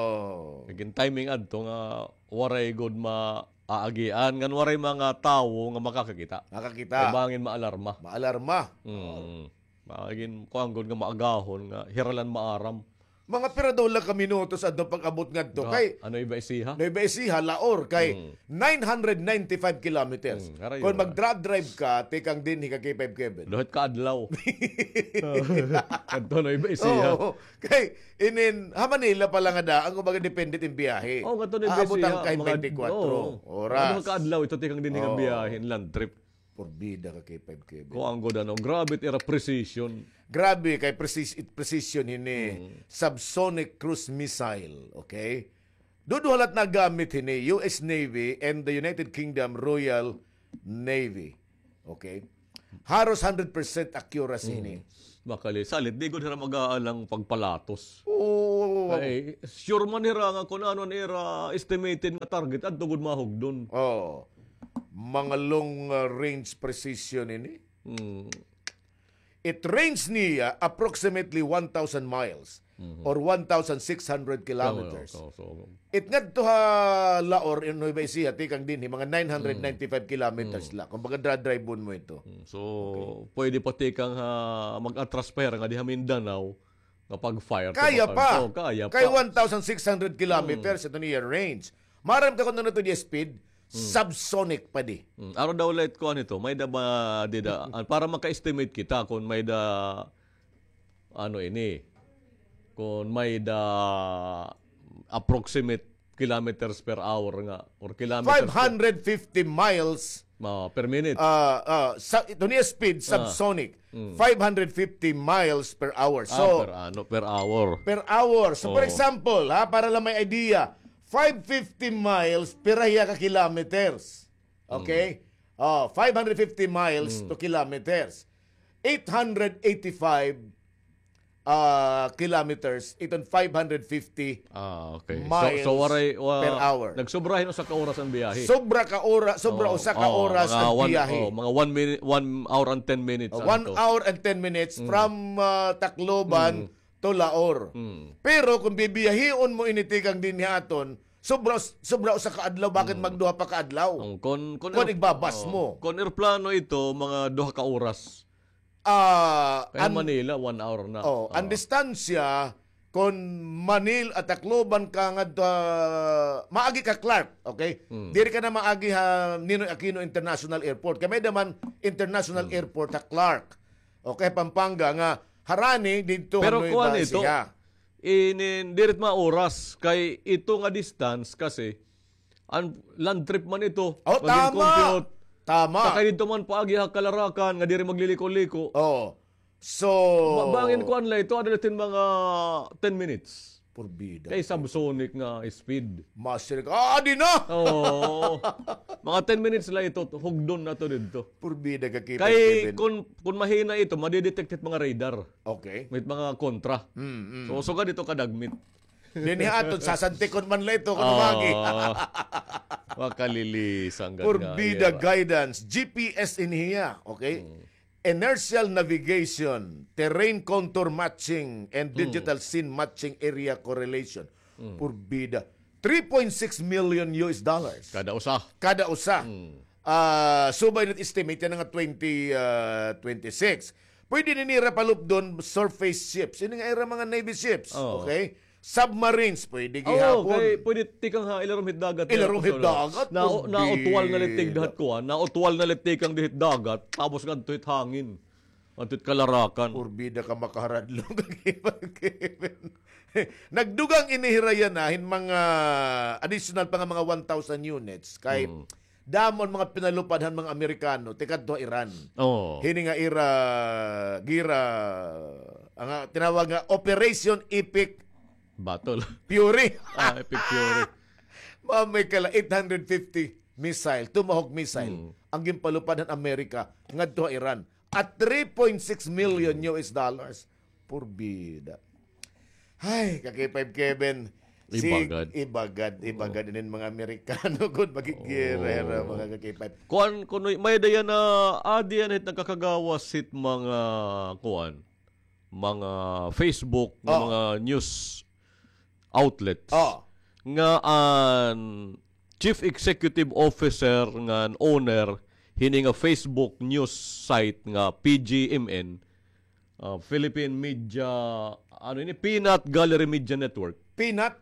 Naging timing adto nga waray gud maaagian, ngan waray mga tawo nga makakakita. Makakita. Kay bangin maalarma. Maalarma. Mm. Oo. Magin, kuan gud nga maagahon nga hira la an maaram. Mga pira daw la ka minutos adto pag-abot ngadto. Kay ano iba isiha? Nueva Ecija, Laor, kay nine hundred ninety-five kilometers. Kon magdra-drive ka, tikang dinhi ka K five Kevin. Duhat ka adlaw. Adto Nueva Ecija. Oo. Kay, inin, ha Manila pa la nga daan, kumbaga depende it im biyahe. Oo, ngadto Nueva Ecija, mga twenty-four oras. Duha ka adlaw ito tikang dinhi nga biyahe, land trip. Porbida ka K five Kevin. Kuan gud ano, grabe it ira precision. Grabe kay precis-, it precision hini. Subsonic cruise missile, okay? Duduha la it nagamit hini, U S Navy and the United Kingdom Royal Navy. Okay? Haros hundred percent accuracy hini. Makali, salit, di gud hira mag-aalang pagpalatos. Oo. Kay, sure man hira nga kun ano an ira estimated nga target, adto gud mahugdon. Oo. Mga long, uh, range precision ini. It range niya approximately one thousand miles or one thousand six hundred kilometers. It ngadto ha Laor, in Nueva Ecija, tikang dinhi, mga nine hundred ninety-five kilometers la. Kumbaga, dra-drive-on mo ito. So, pwede pa tikang ha, mag-atras pa hira nga di ha Mindanao, nga pag-fire. Kaya pa. Kay one thousand six hundred kilometers ito niya range. Maaram ka kung ano ito niya speed? Subsonic pa di. Aro daw la it kuan ito, may da ba, di da, para maka-estimate kita kung may da, ano ini, kung may da approximate kilometers per hour nga, or kilometers per five hundred fifty miles per minute. Ah, ah, sa, ito niya speed, subsonic. Five hundred fifty miles per hour. So, per ano, per hour. Per hour. So, for example, ha, para lang may idea, five fifty miles, pira hiya ka kilometers. Okay? Oh, five hundred fifty miles to kilometers. Eight hundred eighty-five, ah, kilometers, iton five hundred fifty miles per hour. Ah, okay. So, so waray, wa-, nagsobra hin usa ka oras an biyahe. Sobra ka ora-, sobra usa ka oras an biyahe. Mga one minute, one hour and ten minutes. Oh, one hour and ten minutes from, ah, Tacloban to Laor. Pero kung bibiyahion mo ini tikang dinhi aton, sobra, sobra usa ka adlaw, bakit magduha pa ka adlaw? Kon, kon igbabas mo. Kon eroplano ito, mga duha ka oras. Ah, kay an Manila, one hour na. Oh, an distansya, kon Manila, Tacloban ka ngadto, ah, maagi ka Clark, okay? Diri ka na maagi ha Ninoy Aquino International Airport. Kay may da man International Airport ha Clark. Okay, Pampanga nga harani didto ha Nueva Ecija. Pero kuan ito, inin, diri it mga oras, kay ito nga distance kasi, an land trip man ito, mag-compute. Oh, tama. Tama. Sakay didto man paagi ha Calaracan, nga diri magliliko-liko. Oh. So, ba-, bangin kuan la ito, ada la iton mga ten minutes. Porbida. Kay subsonic nga speed. Master ka, ah, adi na! Oo. Mga ten minutes la ito, hugdon na ito didto. Porbida ka kita, Kevin. Kay kun, kun mahina ito, madidetect it mga radar. Okay. May mga kontra. Mm, mm. So, sugad ito kadagmit. Dinhi aton, sasantikon man la ito, kun umagi. Oo. Makalilisan gad nga. Porbida guidance, G P S in hiya, okay? Inertial navigation, terrain contour matching, and digital scene matching area correlation. Porbida. Three point six million U S dollars. Kada usa. Kada usa. Ah, subay na it estimate yana nga twenty, ah, twenty-six. Pwede ini nira palupdon surface ships. Ini nga ira mga navy ships. Oo. Okay? Submarines, pwede gihapon. Oo, kay pwede tikang ha ilarom hit dagat. Ilarom hit dagat, na-, porbida. Nautwal na la it tikang dagat kuan, nautwal na la it tikang dihit dagat, tapos ngadto hit hangin. Ngadto hit Calaracan. Porbida ka makaharadlog, Kevin. Nagdugang ini hira yana hin mga additional pa nga mga one thousand units kay damo an mga pinalupad han mga Amerikano tikadto ha Iran. Oo. Hini nga ira, gira, an tinawag nga Operation Epic Battle. Fury. Ah, Epic Fury. Mamay ka la, eight hundred fifty missile, Tomahawk missile, an ginpalupad han Amerika ngadto ha Iran. At three point six million U S dollars. Porbida. Ay, ka K five Kevin. Ibagad. Ibagad, ibagad inin mga Amerikano gud, magigirera, mga ka K five. Kuan, kuno, may-ada yana, adi yana hit nagkakagawas hit mga, kuan, mga Facebook, nga mga news outlets. Nga an Chief Executive Officer ngan owner hini nga Facebook news site nga P G M N, Ah, Philippine Media, ano ini? Peanut Gallery Media Network. Peanut?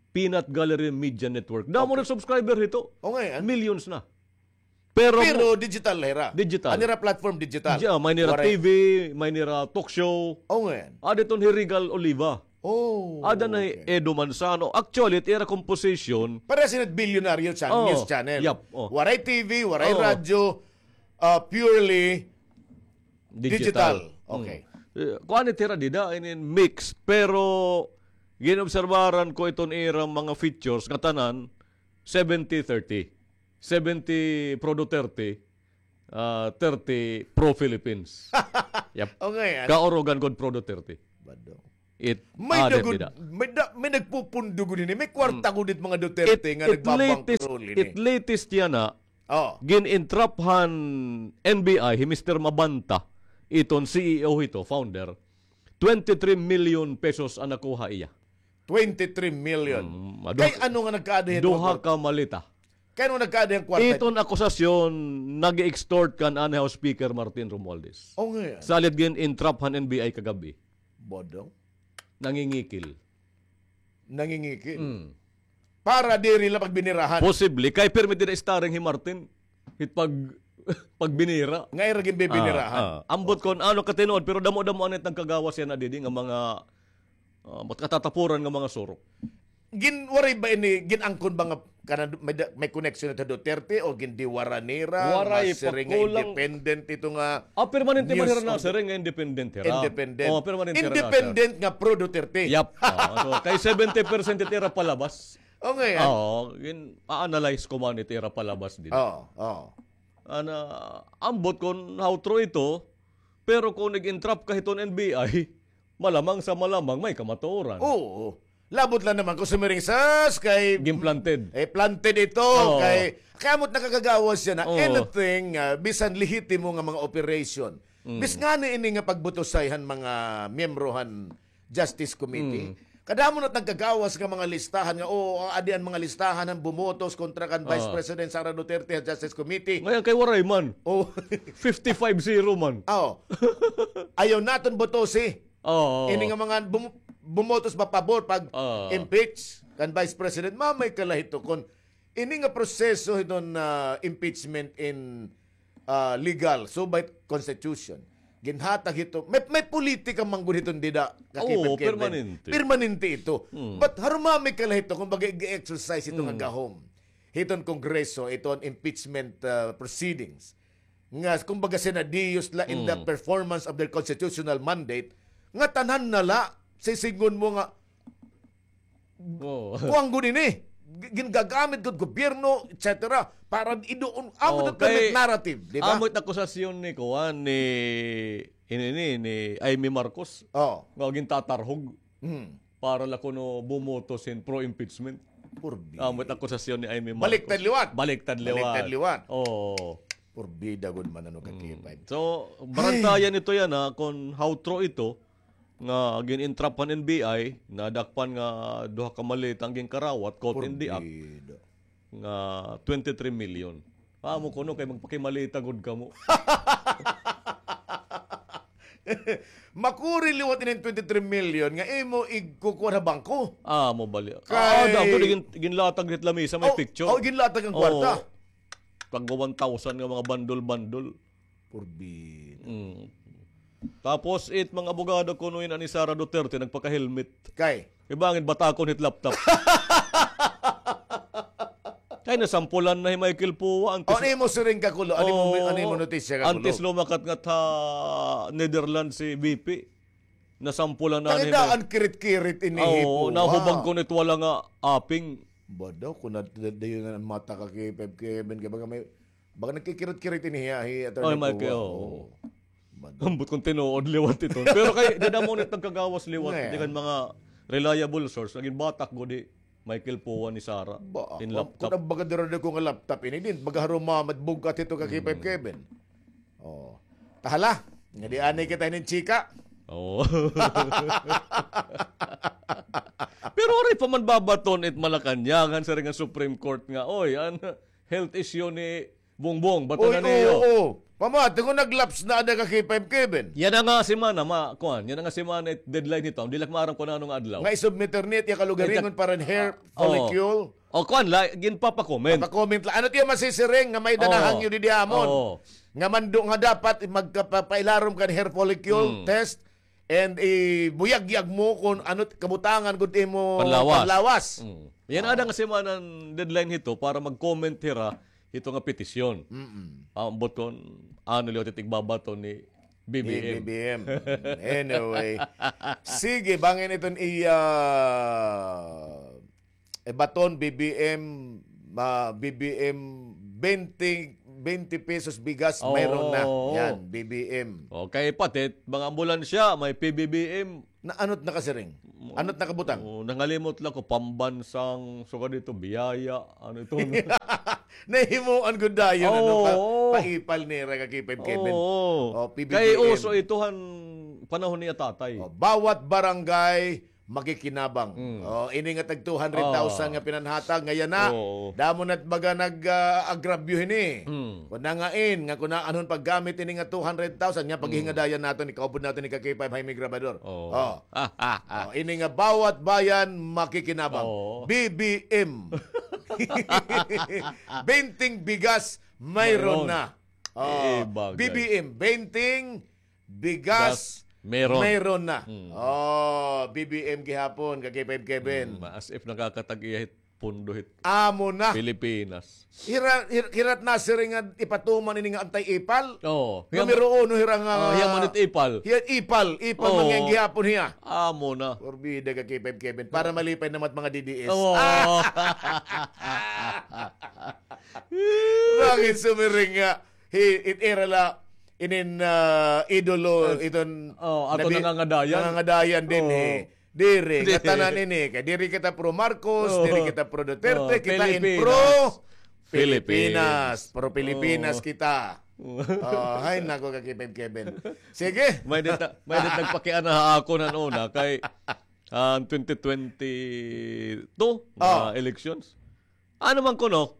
Peanut Gallery Media Network. Damo na subscriber hito. O, ngay-an. Millions na. Pero digital hira. Digital. An ira platform digital. May nira T V, may nira talk show. O, ngay-an. Ada iton hi Regal Oliva. Oh, ada na hi Edo Manzano. Actually, it ira composition. Parehas ini billionaire news channel. Yap, o. Waray T V, waray radyo, ah, purely digital. Okay. Kuan it ira dida, inin mix. Pero ginobserbaran ko iton ira mga features nga tanan, seventy thirty. Seventy pro Duterte, ah, thirty pro Philippines. Yap. Okay, kaurugan gud pro Duterte. Bado. It may dagod, may, da, may nagpupundo gud ini. May kwarta gud it mga Duterte nga nagbabangkrol ini. It latest yana, gin-entrap han N B I hi Mister Mabanta, iton C E O hito, founder. Twenty-three million pesos an nakuha iya. Twenty-three million. Kay ano nga nagkaada hin duha ka maleta? Kay ano nagkaada hin kwarta? Iton akusasyon, nag-extort kan anay House Speaker Martin Romualdez. O, ngay-an. Salit gin-entrap han N B I kagab-i. Bodong. Nangingikil. Nangingikil. Para diri la pagbinirahan. Posible. Kay permi dida starring hi Martin. Hit pag, pagbinira. Nga ira ginbibinirahan. Ambot kon ano katinuod, pero damo-damo anit nagkagawas yana didi nga mga, ah, katatapuran nga mga surok. Gin-, waray ba ini, gin-angkon ba nga kanan may, may connection ito Duterte o gindiwara nira? Waray, masiring nga independent ito nga. Ah, permanente man hira nasiring nga independent hira. Independent. O, permanente hira nasiring. Independent nga pro Duterte. Yap. O, so, kay seventy percent it ira palabas. Okay. O, gin-a-analyze ko man it ira palabas dida. O, o. Ana, ambot kon how true ito, pero kon nag-entrap ka hiton N B I, malamang sa malamang may kamatuoran. Oo. Labot la naman kon sumiring sas kay gin-planted. Eh, planted ito. Oo. Kay, kay ambot nakakagawas yana. Oo. Anything, ah, bisan lehitimo nga mga operation. Mm. Bis ngani ini nga pagbutosay han mga miyembro han Justice Committee. Mm. Kadamo na nagkagawas nga mga listahan nga, oo, adi an mga listahan han bumotos kontra kan Vice President Sara Duterte ha Justice Committee. Ngayon kay waray man. O. Fifty-five zero man. Oo. Ayaw naton botosi. Oo. Ini nga mga bum-, bumotos ba pabor pag impeach kan Vice President, mamay ka la hito kon ini nga proseso hiton, ah, impeachment in, ah, legal, subay constitution. Ginhatag hito, may, may politika man gud hiton dida, kakipag Kevin. Permanente. Permanente ito. Hmm. But harumami ka la hito, kumbaga, i-exercise ito nga gahom hiton Kongreso, iton impeachment, ah, proceedings. Nga, kumbaga, sinadiyos la in the performance of their constitutional mandate, nga tanan na la, sisidngon mo nga, Oo. Kuan gud ini. Gi-, gingagamit gud gobyerno, et cetera. Para iduon, amo it narrative, di ba? Amo it akusasyon ni kuan, ni, ini, ni, ni Imee Marcos. Oo. Nga gintatarhog. Hmm. Para la kuno bumotos hin pro-impeachment. Purbi. Amo it akusasyon ni Imee Marcos. Baliktad liwat. Baliktad liwat. Baliktad liwat. Oo. Purbida gud man ano kakipay. So, barantayan ito yana, kon how true ito, nga gin-entrap han N B I, nadakpan nga duha ka maleta an ginkarawat, caught in the act, nga twenty-three million. Amo kuno kay magpakimaleta gud kamo. Makuri liwat ini twenty-three million nga imo igkukuha ha bangko. Ah, amo bali. Kay, ah, daw, gin-, ginlatag hit lamisa, may picture. Oh, ginlatag an kwarta. Tagwa one thousand nga mga bandol-bandol. Purbida. Mm. Tapos, it mga abogado kuno yana ni Sara Duterte, nagpaka-helmet. Kay? Kay bangin batakon hit laptop. Kay nasampulan na hi Michael Poa, antes. O, nimo siring ka kuno, ano mo, ano mo notisya ka kuno? Antes lumakat ngat ha Netherlands si V P. Nasampulan na ni. Takita an kirit-kirit ini hi Poa. Nahubag kuno it wala nga aping. Bado, kuno dayon an mata ka kay Kevin, kay baga may Baga nagkikirit-kirit ini hiya, hi Attorney Poa. Ay, Michael, oo. Bado. Ambot kon tinuod liwat ito. Pero kay, dida mo nit nagkagawas liwat, tikang mga reliable source, nagin batak gud hi Michael Poa ni Sara. Ba, in laptop. Kon baga dira ko nga laptop ini din, baga harumamad bugkat ito ka Kevin. Oh. Tahala, nga di anay kita hinin chika. Oo. Pero waray pa man babaton it Malacañang, han siring nga Supreme Court nga, oy, an health issue ni Bongbong, bato na niyo. Oo. Pamati ko nag-lapse na ada ka K five Kevin. Yana nga semana, ma, kuan, yana nga semana it deadline hito. Diri la ko maaram kon ano nga adlaw. Nga isubmit hira it iya kalugaringon para hin hair follicle. O kuan la, ginpapa-comment. Papa-comment la. Ano it iya masisiring nga may-ada nahangyo didi ha amon? Nga mandunga dapat magkapailarom kan hair follicle test. And ibuyagyag mo kon ano it kabutangan gud imo panlawas. Yana ada nga semana an deadline hito para mag-comment hira hito nga petisyon. Ambot kon ano liwat it igbabaton ni B B M. Anyway. Sige, bangin iton iya baton, B B M, ma-, B B M, twenty, twenty pesos bigas, mayroon na. Yan, B B M. Okay, pati mga ambulansya, may P B B M. Na, ano it nakasiring? Ano it nakabutang? Nangalimot la ko, pambansang, sugad hito, biyaya, ano ito? Nahimuan gud dayon, ano, pa-, paipal nira ka K five Kevin. P B B M. Kay uso ito han panahon niya tatay. Bawat barangay makikinabang. Ini nga tag two hundred thousand nga pinanhatag, nga yana, damo na it baga nag-, ah, agrabyo hini. Kon nangain nga kon aanhon paggamit ini nga two hundred thousand, nga paghingadayan naton, ikaupod naton ni ka K five Jaime Grabador. Ini nga bawat bayan makikinabang. B B M. Benteng bigas, mayroon na. B B M, benteng bigas, mayroon na. B B M gihapon, ka K five Kevin. As if nakakatag-iya hit pundo hit Pilipinas. Hira, hira it nasiring nga ipatuman ini nga anti-ipal. Numero uno hira nga, hiya man it ipal. Hiya ipal, ipal man nga gihapon hiya. Amo na. Porbida ka K five Kevin. Para malipay naman it mga D D S. Bakit sumiring nga? Hi, it ira la inin, ah, idolo, iton aton nangangadayan. Nangangadayan dinhi. Diri, ngatanan ini, kay diri kita pro Marcos, diri kita pro Duterte, kita in pro Pilipinas. Pro Pilipinas kita. Hay nako, ka K five Kevin. Sige. May-ada it, may-ada it nagpakiana ha akon han una kay, ah, twenty twenty-two nga elections. Ano man kuno,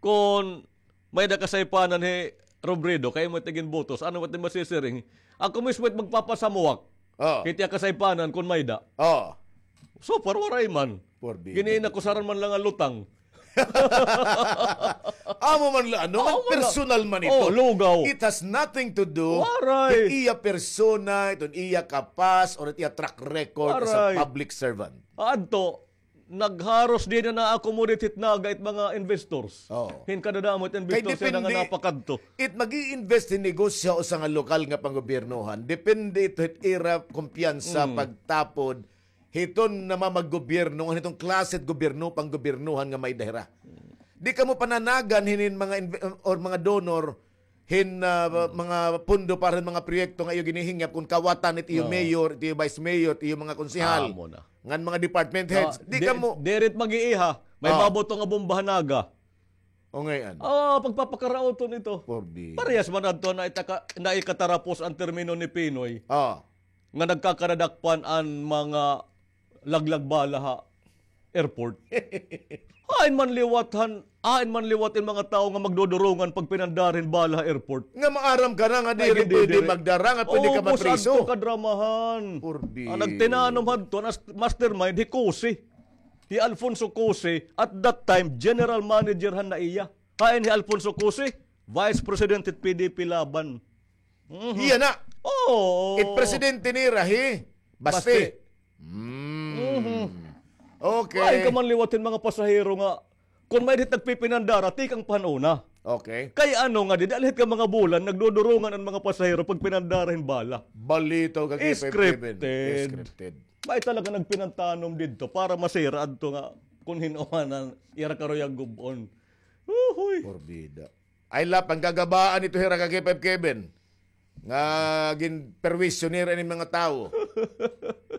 kon may-ada kasaypanan hi Robredo, kay imo it iginbotos, ano man it masisiring? Ako mismo it magpapasamuak. Kay it iya kasaypanan, kon may-ada. So far, waray man. Gin-iinakusaran man la nga lutang. Amo man la, ano, personal man ito. Lugaw. It has nothing to do with iya persona, iton iya kapas, or it iya track record as a public servant. Adto, nagharos dinhi na-accommodate hit Naga it mga investors. Hin kadadamo it investor sila nga napakadto. It mag-i-invest hin negosyo ha usa nga lokal nga panggobiernohan. Depende ito hit ira kumpiyansa pagtapod hiton namamaggobyerno, ngan hiton klase hit gobyerno, panggobiernohan nga may-ada hira. Di kamo pananagan hinin mga inve-, or mga donor, hin, ah, mga pondo para hin mga proyekto nga iyo ginihingyap kon kawatan it iyo mayor, it iyo vice mayor, it iyo mga konsehal. Amo na. Ngan mga department heads. Di kamo. Diri it mag-iiha. May babato nga bomba ha Naga. O ngay-an. Ah, pagpapakarauton ito. Parehas man adto na itaka-, na ikatarapos an termino ni Pinoy. Nga nagkakadadakpan an mga laglag bala ha airport. Hain man liwat han, hain man liwat in mga tawo nga magdudurungan pagpinandara hin bala ha airport. Nga maaram ka na nga diri pwede magdara, nga pwede ka mapriso. Ubos adto kadramahan. An nagtinanom hadto, an as-, mastermind, hi Cose. Hi Alfonso Cose, at that time, general manager han NAIA. Hain hi Alfonso Cose? Vice President hit P D P Laban. Iya na. Oo. It presidente nira hi Baste. Okay. Hain ka man liwat hin mga pasahero nga, kon may-ada hit nagpipinandara, tikang pa han una. Okay. Kay ano nga, didi la hit ka mga bulan, nagdudurungan an mga pasahero pagpinandara hin bala. Balitaw ka, K five Kevin. Scripted. May talaga nagpinantanom didto para masira adto nga kon hin-o man an ira karuyag gub-on. Uhoy. Porbida. Ay la, panggagabaan ito hira ka K five Kevin. Nga ginperwisyo nira ini mga tawo.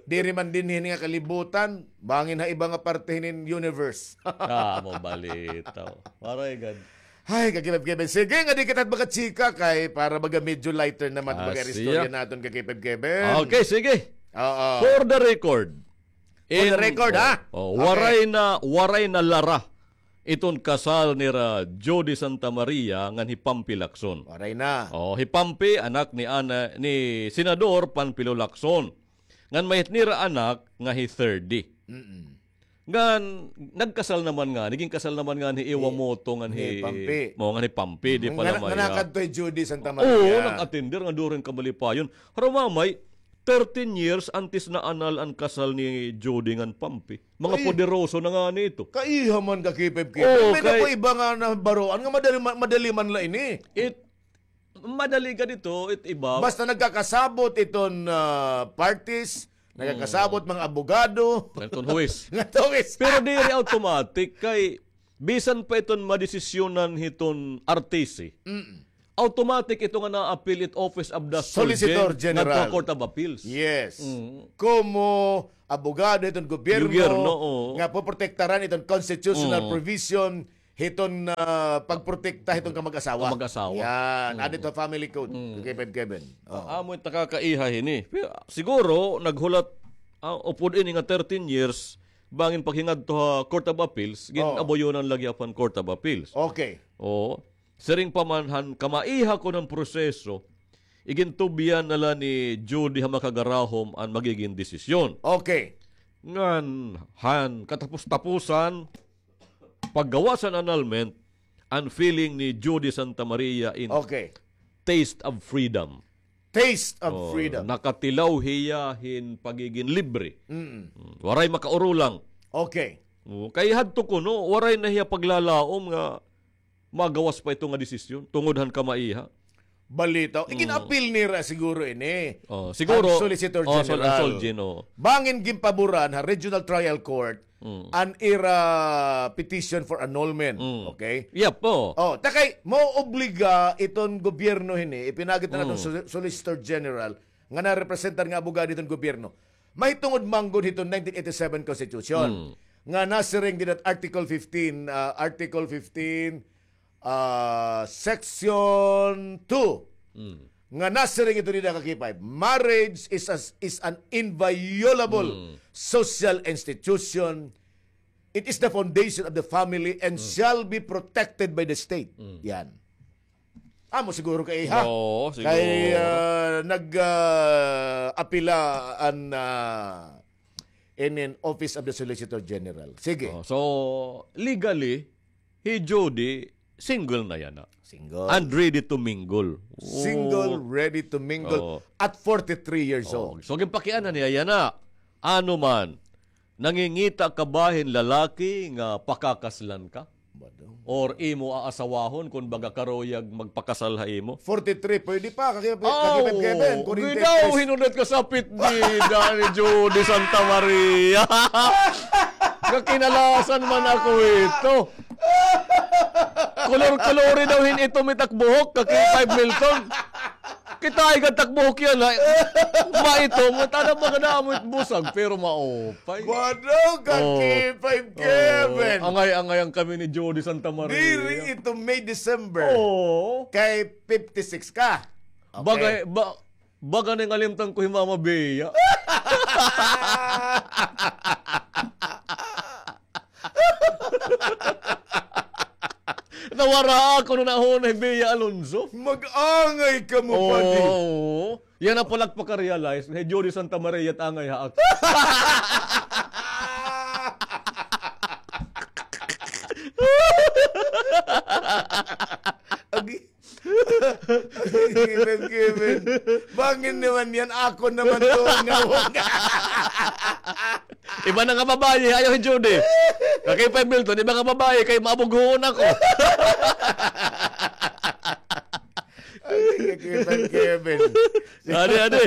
Diri man dinhi nga kalibutan, bangin ha iba nga parte hinin universe. Ah, mo balitaw. Waray gad. Ay, ka K five Kevin. Sige, nga di kita magkachika kay para baga medyo lighter naman baga istorya naton ka K five Kevin. Okay, sige. Oo. For the record. For the record, ha? Oh, waray na, waray na lara iton kasal nira Jody Santa Maria ngan hi Pampi Lacson. Waray na. Oh, hi Pampi, anak ni ana, ni Senador Panfilo Lacson. Ngan may hit nira anak nga hi Thirdy. Mm-mm. Ngan nagkasal naman ngani, naging kasal naman ngani hi Iwamoto ngan hi, hi Pampi. Mo, ngan hi Pampi, di pala maya. Nanakadto hi Jody Santa Maria. Oo, nag-attender nga during kamalipayon. Pero mamay, thirteen years antes na anal an kasal ni Jody ngan Pampi. Mga poderoso na ngani ito. Kaiha man ka K five K. Oo, may kay ako iba nga nabaroan nga madali, ma-, madali man la ini. It, madali ka dito, it iba. Basta nagkakasabot iton, ah, parties, nagkakasabot mga abogado. Ngan iton huwis. Ngan huwis. Pero diri automatic kay bisan pa iton madesisyonan hiton R T C. Mm. Automatic ito nga na-appeal it Office of the Solicitor General ngadto ha Court of Appeals. Yes. Mm. Komo abogado iton gobyerno, gobyerno, oo, nga poprotektaran iton constitutional provision hiton, ah, pagprotekta hiton kamag-asawa. Kamag-asawa. Yan. Mm. Adi to family code. Mm. K five Kevin. Oh. Amo it nakakaiha hini. Pero siguro naghulat, ah, upod ini nga thirteen years, bangin paghingadto ha Court of Appeals, gin-abuyonan lagi upon Court of Appeals. Okay. Oo. Siring pa man han kamaiha kon han proseso, igintubyan na la ni Jody ha makagarahom an magigin desisyon. Okay. Ngan han katapos-tapusan, paggawas han annulment, an feeling ni Jody Santa Maria in taste of freedom. Taste of freedom. Nakatilaw hiya hin pagigin libre. Mm. Mm, waray makaurulang. Okay. Oh, kay hadto kuno, waray na hiya paglalaom nga magawas pa ito nga desisyon tungod han kamaiha. Balita. Mm. Igin-appeal nira siguro ini. Oh, siguro. An Solicitor General. Bangin ginpaboran ha Regional Trial Court an ira petition for annulment. Mm. Okay? Yep, oo. Oh, ta kay maoobliga iton gobyerno hini, ipinagi ta naton Sol-, Solicitor General, nga narepresentar nga abogado iton gobyerno. Mahitungod man gud hiton nineteen eighty-seven Constitution. Mm. Nga nasiring dida ha Article fifteen, ah, Article fifteen, ah, Section two. Mm. Nga nasiring ito dida ka K five, "Marriage is as, is an inviolable social institution. It is the foundation of the family and shall be protected by the state." Mm. Yan. Amo siguro kaiha. Oo, siguro. Kay, ah, nag, ah, apila an, ah, inin Office of the Solicitor General. Sige. Oh, so, legally, hi Jody, single na yana. Single. And ready to mingle. Single, ready to mingle at forty-three years old. Oh. So, ginpakiana niya yana. Ano man, nangingita ka ba hin lalaki nga pakakaslan ka? Or imo aasawahon kon baga karuyag magpakasal ha imo? Forty-three, pwede pa, kaki-, kaki-, Kevin, kung ginaw, hinunot ka sa pitbida ni Jody Santa Maria. Kakinalasan man ako ito. Kulor-kulori daw hin itom it ak buhok, kaki five Milton. Kita ay gantak buhok yana, ha? Maitom, tana ba ka na amo it busag, pero maupay. Bado ka, K five Kevin. Angay-angay an kami ni Jody Santa Maria. Diri ito May, December. Oo. Kay fifty-six ka. Okay. Bagay, ba-, baga na ngalimtan ko hi Mama Bea. Nawara ako no nahuna hi Bea Alonzo. Mag-angay kamo, padi. Oo. Yana pala ak paka-realize nga hi Jody Santa Maria it angay ha ak. Agi. Given, given. Bangin naman yan, ako naman to, ngawag. Iba na nga babaye, ayaw hi Jody. Kaki five Milton, iba nga babaye, kay maabughoon ako. Kaki five Kevin. Adi, adi.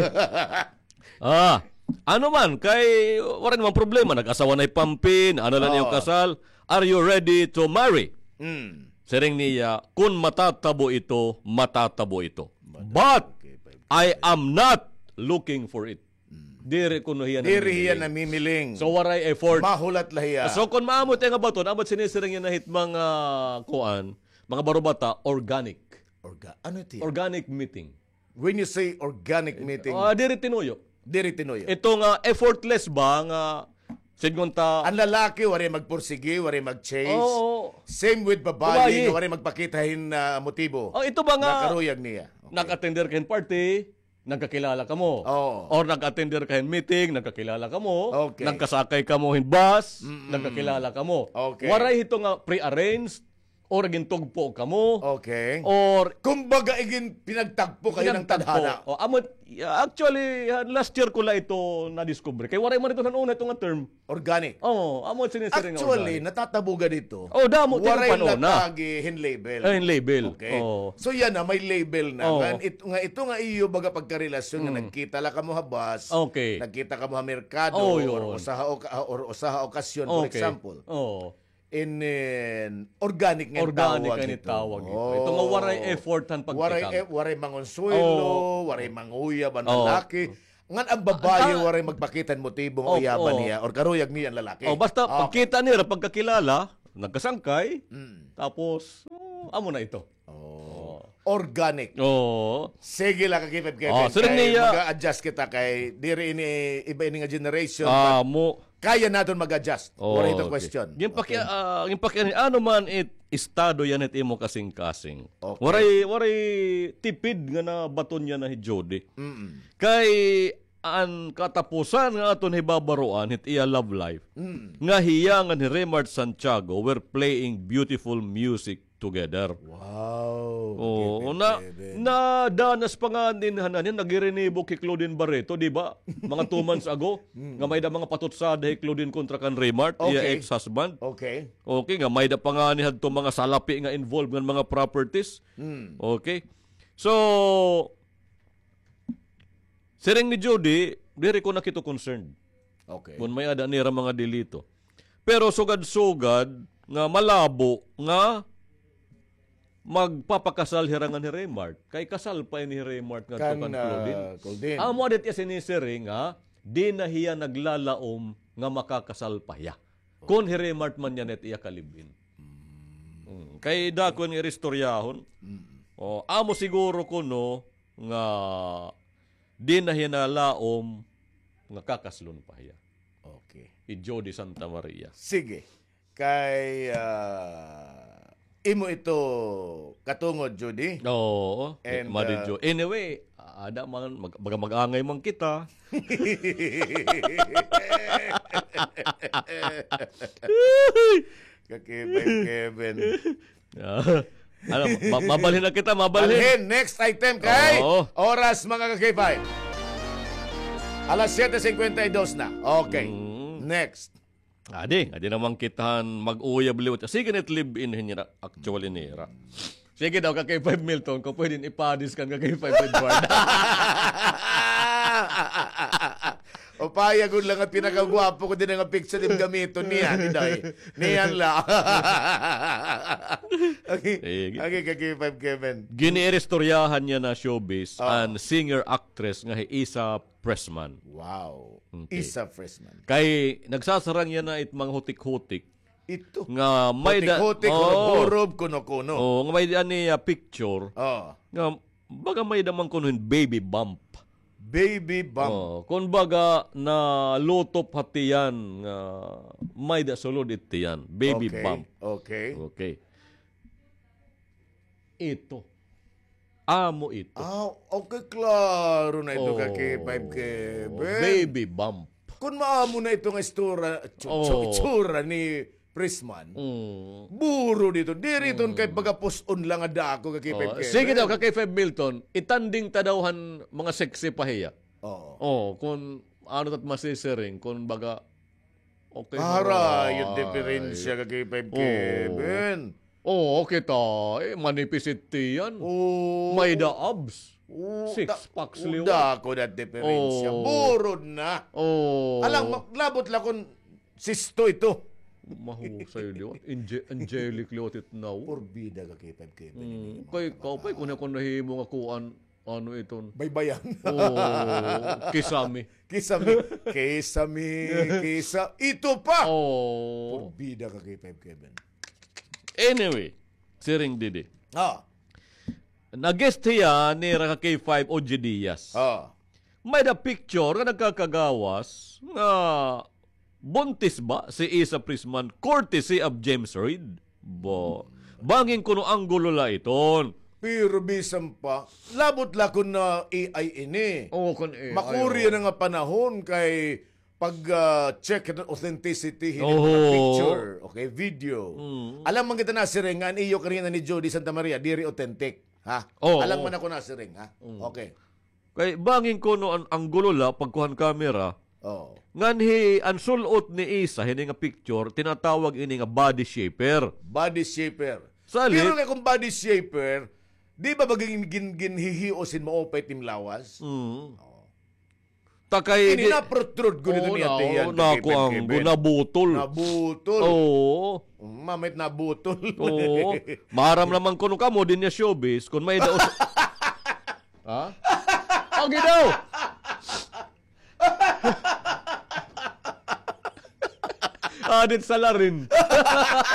Ah, ano man, kay, waray naman problema, nag-asawa na hi Pampin, ano lang iyong kasal, are you ready to marry? Mm. Siring niya, kun matatabo ito, matatabo ito. But, I am not looking for it. Mm. Diri kuno hiya namimiling. Diri hiya namimiling. So, waray effort. Mahulat la hiya. So, kun maamo it iya nga baton, amo it sinisiring niya na hit mga, kuan, mga barubata, organic. Orga-, ano ito? Organic meeting. When you say organic meeting, ah, diri tinuyo. Diri tinuyo. Ito nga effortless ba nga Sidngon ta. An lalaki, waray magpursigi, waray mag-chase. Oo. Same with babayi, babayi, nga waray magpakita hin, ah, motibo. Oh, ito ba nga, nga karuyag niya. Okay. Nag-attender ka hin party, nagkakilala kamo. Oo. Or nag-attender ka hin meeting, nagkakilala kamo. Okay. Nagkasakay kamo hin bus, mm-mm, nagkakilala kamo. Okay. Waray hito nga pre-arranged, or gintugpo kamo. Okay. Or kumbaga, igin-, pinagtagpo kayo ng tadhana. Pinagtagpo. O, amo, actually, ah, last year ko la ito nadiskubre. Kay waray man ito han una ito nga term. Organic. Oo, amo sinisiring nga organic. Actually, natatabuga dito. Oh, damo, waray ito panahon na. Latagi hin label. Ay, hin label. Okay. Oo. So, yana, may label na. Oo. Nga it-, nga ito nga iyo baga pagkarelasyon nga, mm, nagkita la kamo ha bus, okay, nagkita kamo ha merkado, oh, yun, or usa ha oka-, or usa ha okasyon, for, okay, example. Oo. Inin organic nga tawag hito. Organic nga tawag hito. Ito nga waray effort han pagtikang. Waray e-, waray mangonsuelo, oh, waray manguyab an lalaki. Oh. Ngan an babayi waray magpakita hin motibo nga uyaban niya or karuyag niya an lalaki. Oh, basta pagkita nira, pagkakilala, nagkasangkay, mm, tapos, oh, amo na ito. Oh. Oh. Organic. Oo. Sige la, ka K five Kevin. Oh, siring niya. Mag-a-adjust kita kay diri ini iba ini nga generation. Ah, but mo. Kaya naton mag-adjust. Oh, waray ito question. Okay. Ginpaki-, ah, ginpaki-, ano man it estado yana hit imo kasingkasing. Okay. Waray, waray tipid nga nabaton yana hi Jody. Mm-mm. Kay an katapusan nga aton hibabaroan hit iya love life. Mm. Nga hiya ngan hi Remart Santiago were playing beautiful music together. Wow. Oo, na, nadanas pa ngani han, han, naghirinibok hi Claudine Barreto, di ba? Mga two months ago, mm, nga may-ada mga patutsada hi Claudine kontra kan Remart, iya ex-husband. Okay. Okay, nga may-ada pa ngani hadto mga salapi nga involved ngan mga properties. Mm. Okay. So, siring ni Jody, diri ko na kito concerned. Okay. Kon may-ada nira mga delito. Pero sugad-sugad nga malabo nga magpapakasal hira ngan hi Remart. Kay kasal pa ini hi Remart ngadto kan, kan, ah, Claudine. Claudine. Amo adit iya sinisiring nga, di na hiya naglalaom nga makakasal pa hiya. Kon hi Remart man yana it iya ka-live-in. Mm. Mm. Kay dako nga iristoryahon. Mm. O, amo siguro kuno nga di na hiya nalaom nga kakaslon pa hiya. Okay. Hi Jody Santa Maria. Sige. Kay, ah, imo ito katungod, Jody. Oo. And, Madi, ah, Jo-, anyway, ada man, mag-, baga mag-angay man kita. Ka K five Kevin. Ah, ano, ma-, mabalhin na kita, mabalhin. Balhin, next item kay oras, mga ka K five. Alas siyete singkwenta y dos na. Okay. Mm. Next. Adi, adi naman kita han mag-uyab liwat. Sige, nit live-in hin nira, actually nira. Sige daw, ka K five Milton, kon pwede ipadiskan ka K five Edward. Upaya gud la nga pinakagwapo ko didi nga picture, im gamiton niyan, Inday. Niyan la. Okay. Sige. Okay, ka K five Kevin. Gin-iiristoryahan yana showbiz an singer-actress nga hi Isa Pressman. Wow. Okay. Isa Pressman. Kay nagsasarang yana it mga hutik-hutik. Ito. Nga may da-, hutik-hutik, hurob-hurob, kuno-kuno. Oo, nga may-ada niya picture. Oo. Nga baga may-ada man kuno hin baby bump. Baby bump. Oo, kon baga nalutop ha tiyan nga may-ada sulod it tiyan. Baby bump. Okay. Okay. Ito. Amo ito. Ah, okay, klaro na ito ka K five Kevin. Baby bump. Kon maamo na ito nga istura, tsu-, tsu-, itsura ni Pressman. Mm. Buro dito. Diri iton kay pagapus-on lang nga dako ka K five Kevin. Sige daw, ka K five Milton, itanding ta daw han mga sexy pa hiya. Oo. Oo, kon ano tat masisiring, kon baga, okay, harayo it diferensya ka K five Kevin. Oo, kita, eh, manipis it tiyan. Oo. May-ada abs. Oo, six packs liwat. Dako na it diferensya. Oo. Burod na. Oo. Alang, ma-, labot la kon sisto ito. Mahusay liwat. Ange-, angelic liwat it now. Porbida ka K five Kevin. Mm, kay ikaw pa, kon ako nahimo nga kuan, ano iton? Baybayan. Oo, kisame. Kisame. Kisame, kisa-, ito pa! Oo. Porbida ka K five Kevin. Anyway, siring didi. Ah. Nag-guest hiya nira ka K five, Ogie Diaz. Ah. May-ada picture nga nagkakagawas nga Buntis ba si Isa Prisman courtesy of James Reid? Bo. Bangin kuno anggulo la iton. Pero bisan pa, labot la kun na A I ini. Oo, kun A I, makuri na nga panahon kay pag, ah, check it authenticity hini mga picture, okay, video. Mm. Alam man kita nasiring nga an iyo kanina ni Jody Santa Maria, diri authentic, ha? Oo. Alam man ako nasiring, ha? Mm. Okay. Kay bangin kuno an anggulo la pagkuha han camera. Oo. Nganhi an sul-ot ni Isa hini nga picture, tinatawag ini nga body shaper. Body shaper. Salit. Pero kay kung body shaper, di ba ba gin-, gin-, ginhihios hin maupay it im lawas? Mm. Oo. Ta kay ini di-, na-protrude gud ito niya, tiyan, naku, anggo, nabutol. Nabutol. Oo. Mm, mamit nabutol. Oo. Maaram naman kuno kamo, dinhi ha showbiz, kun may daos. Ha? Okay daw. Adit salarin.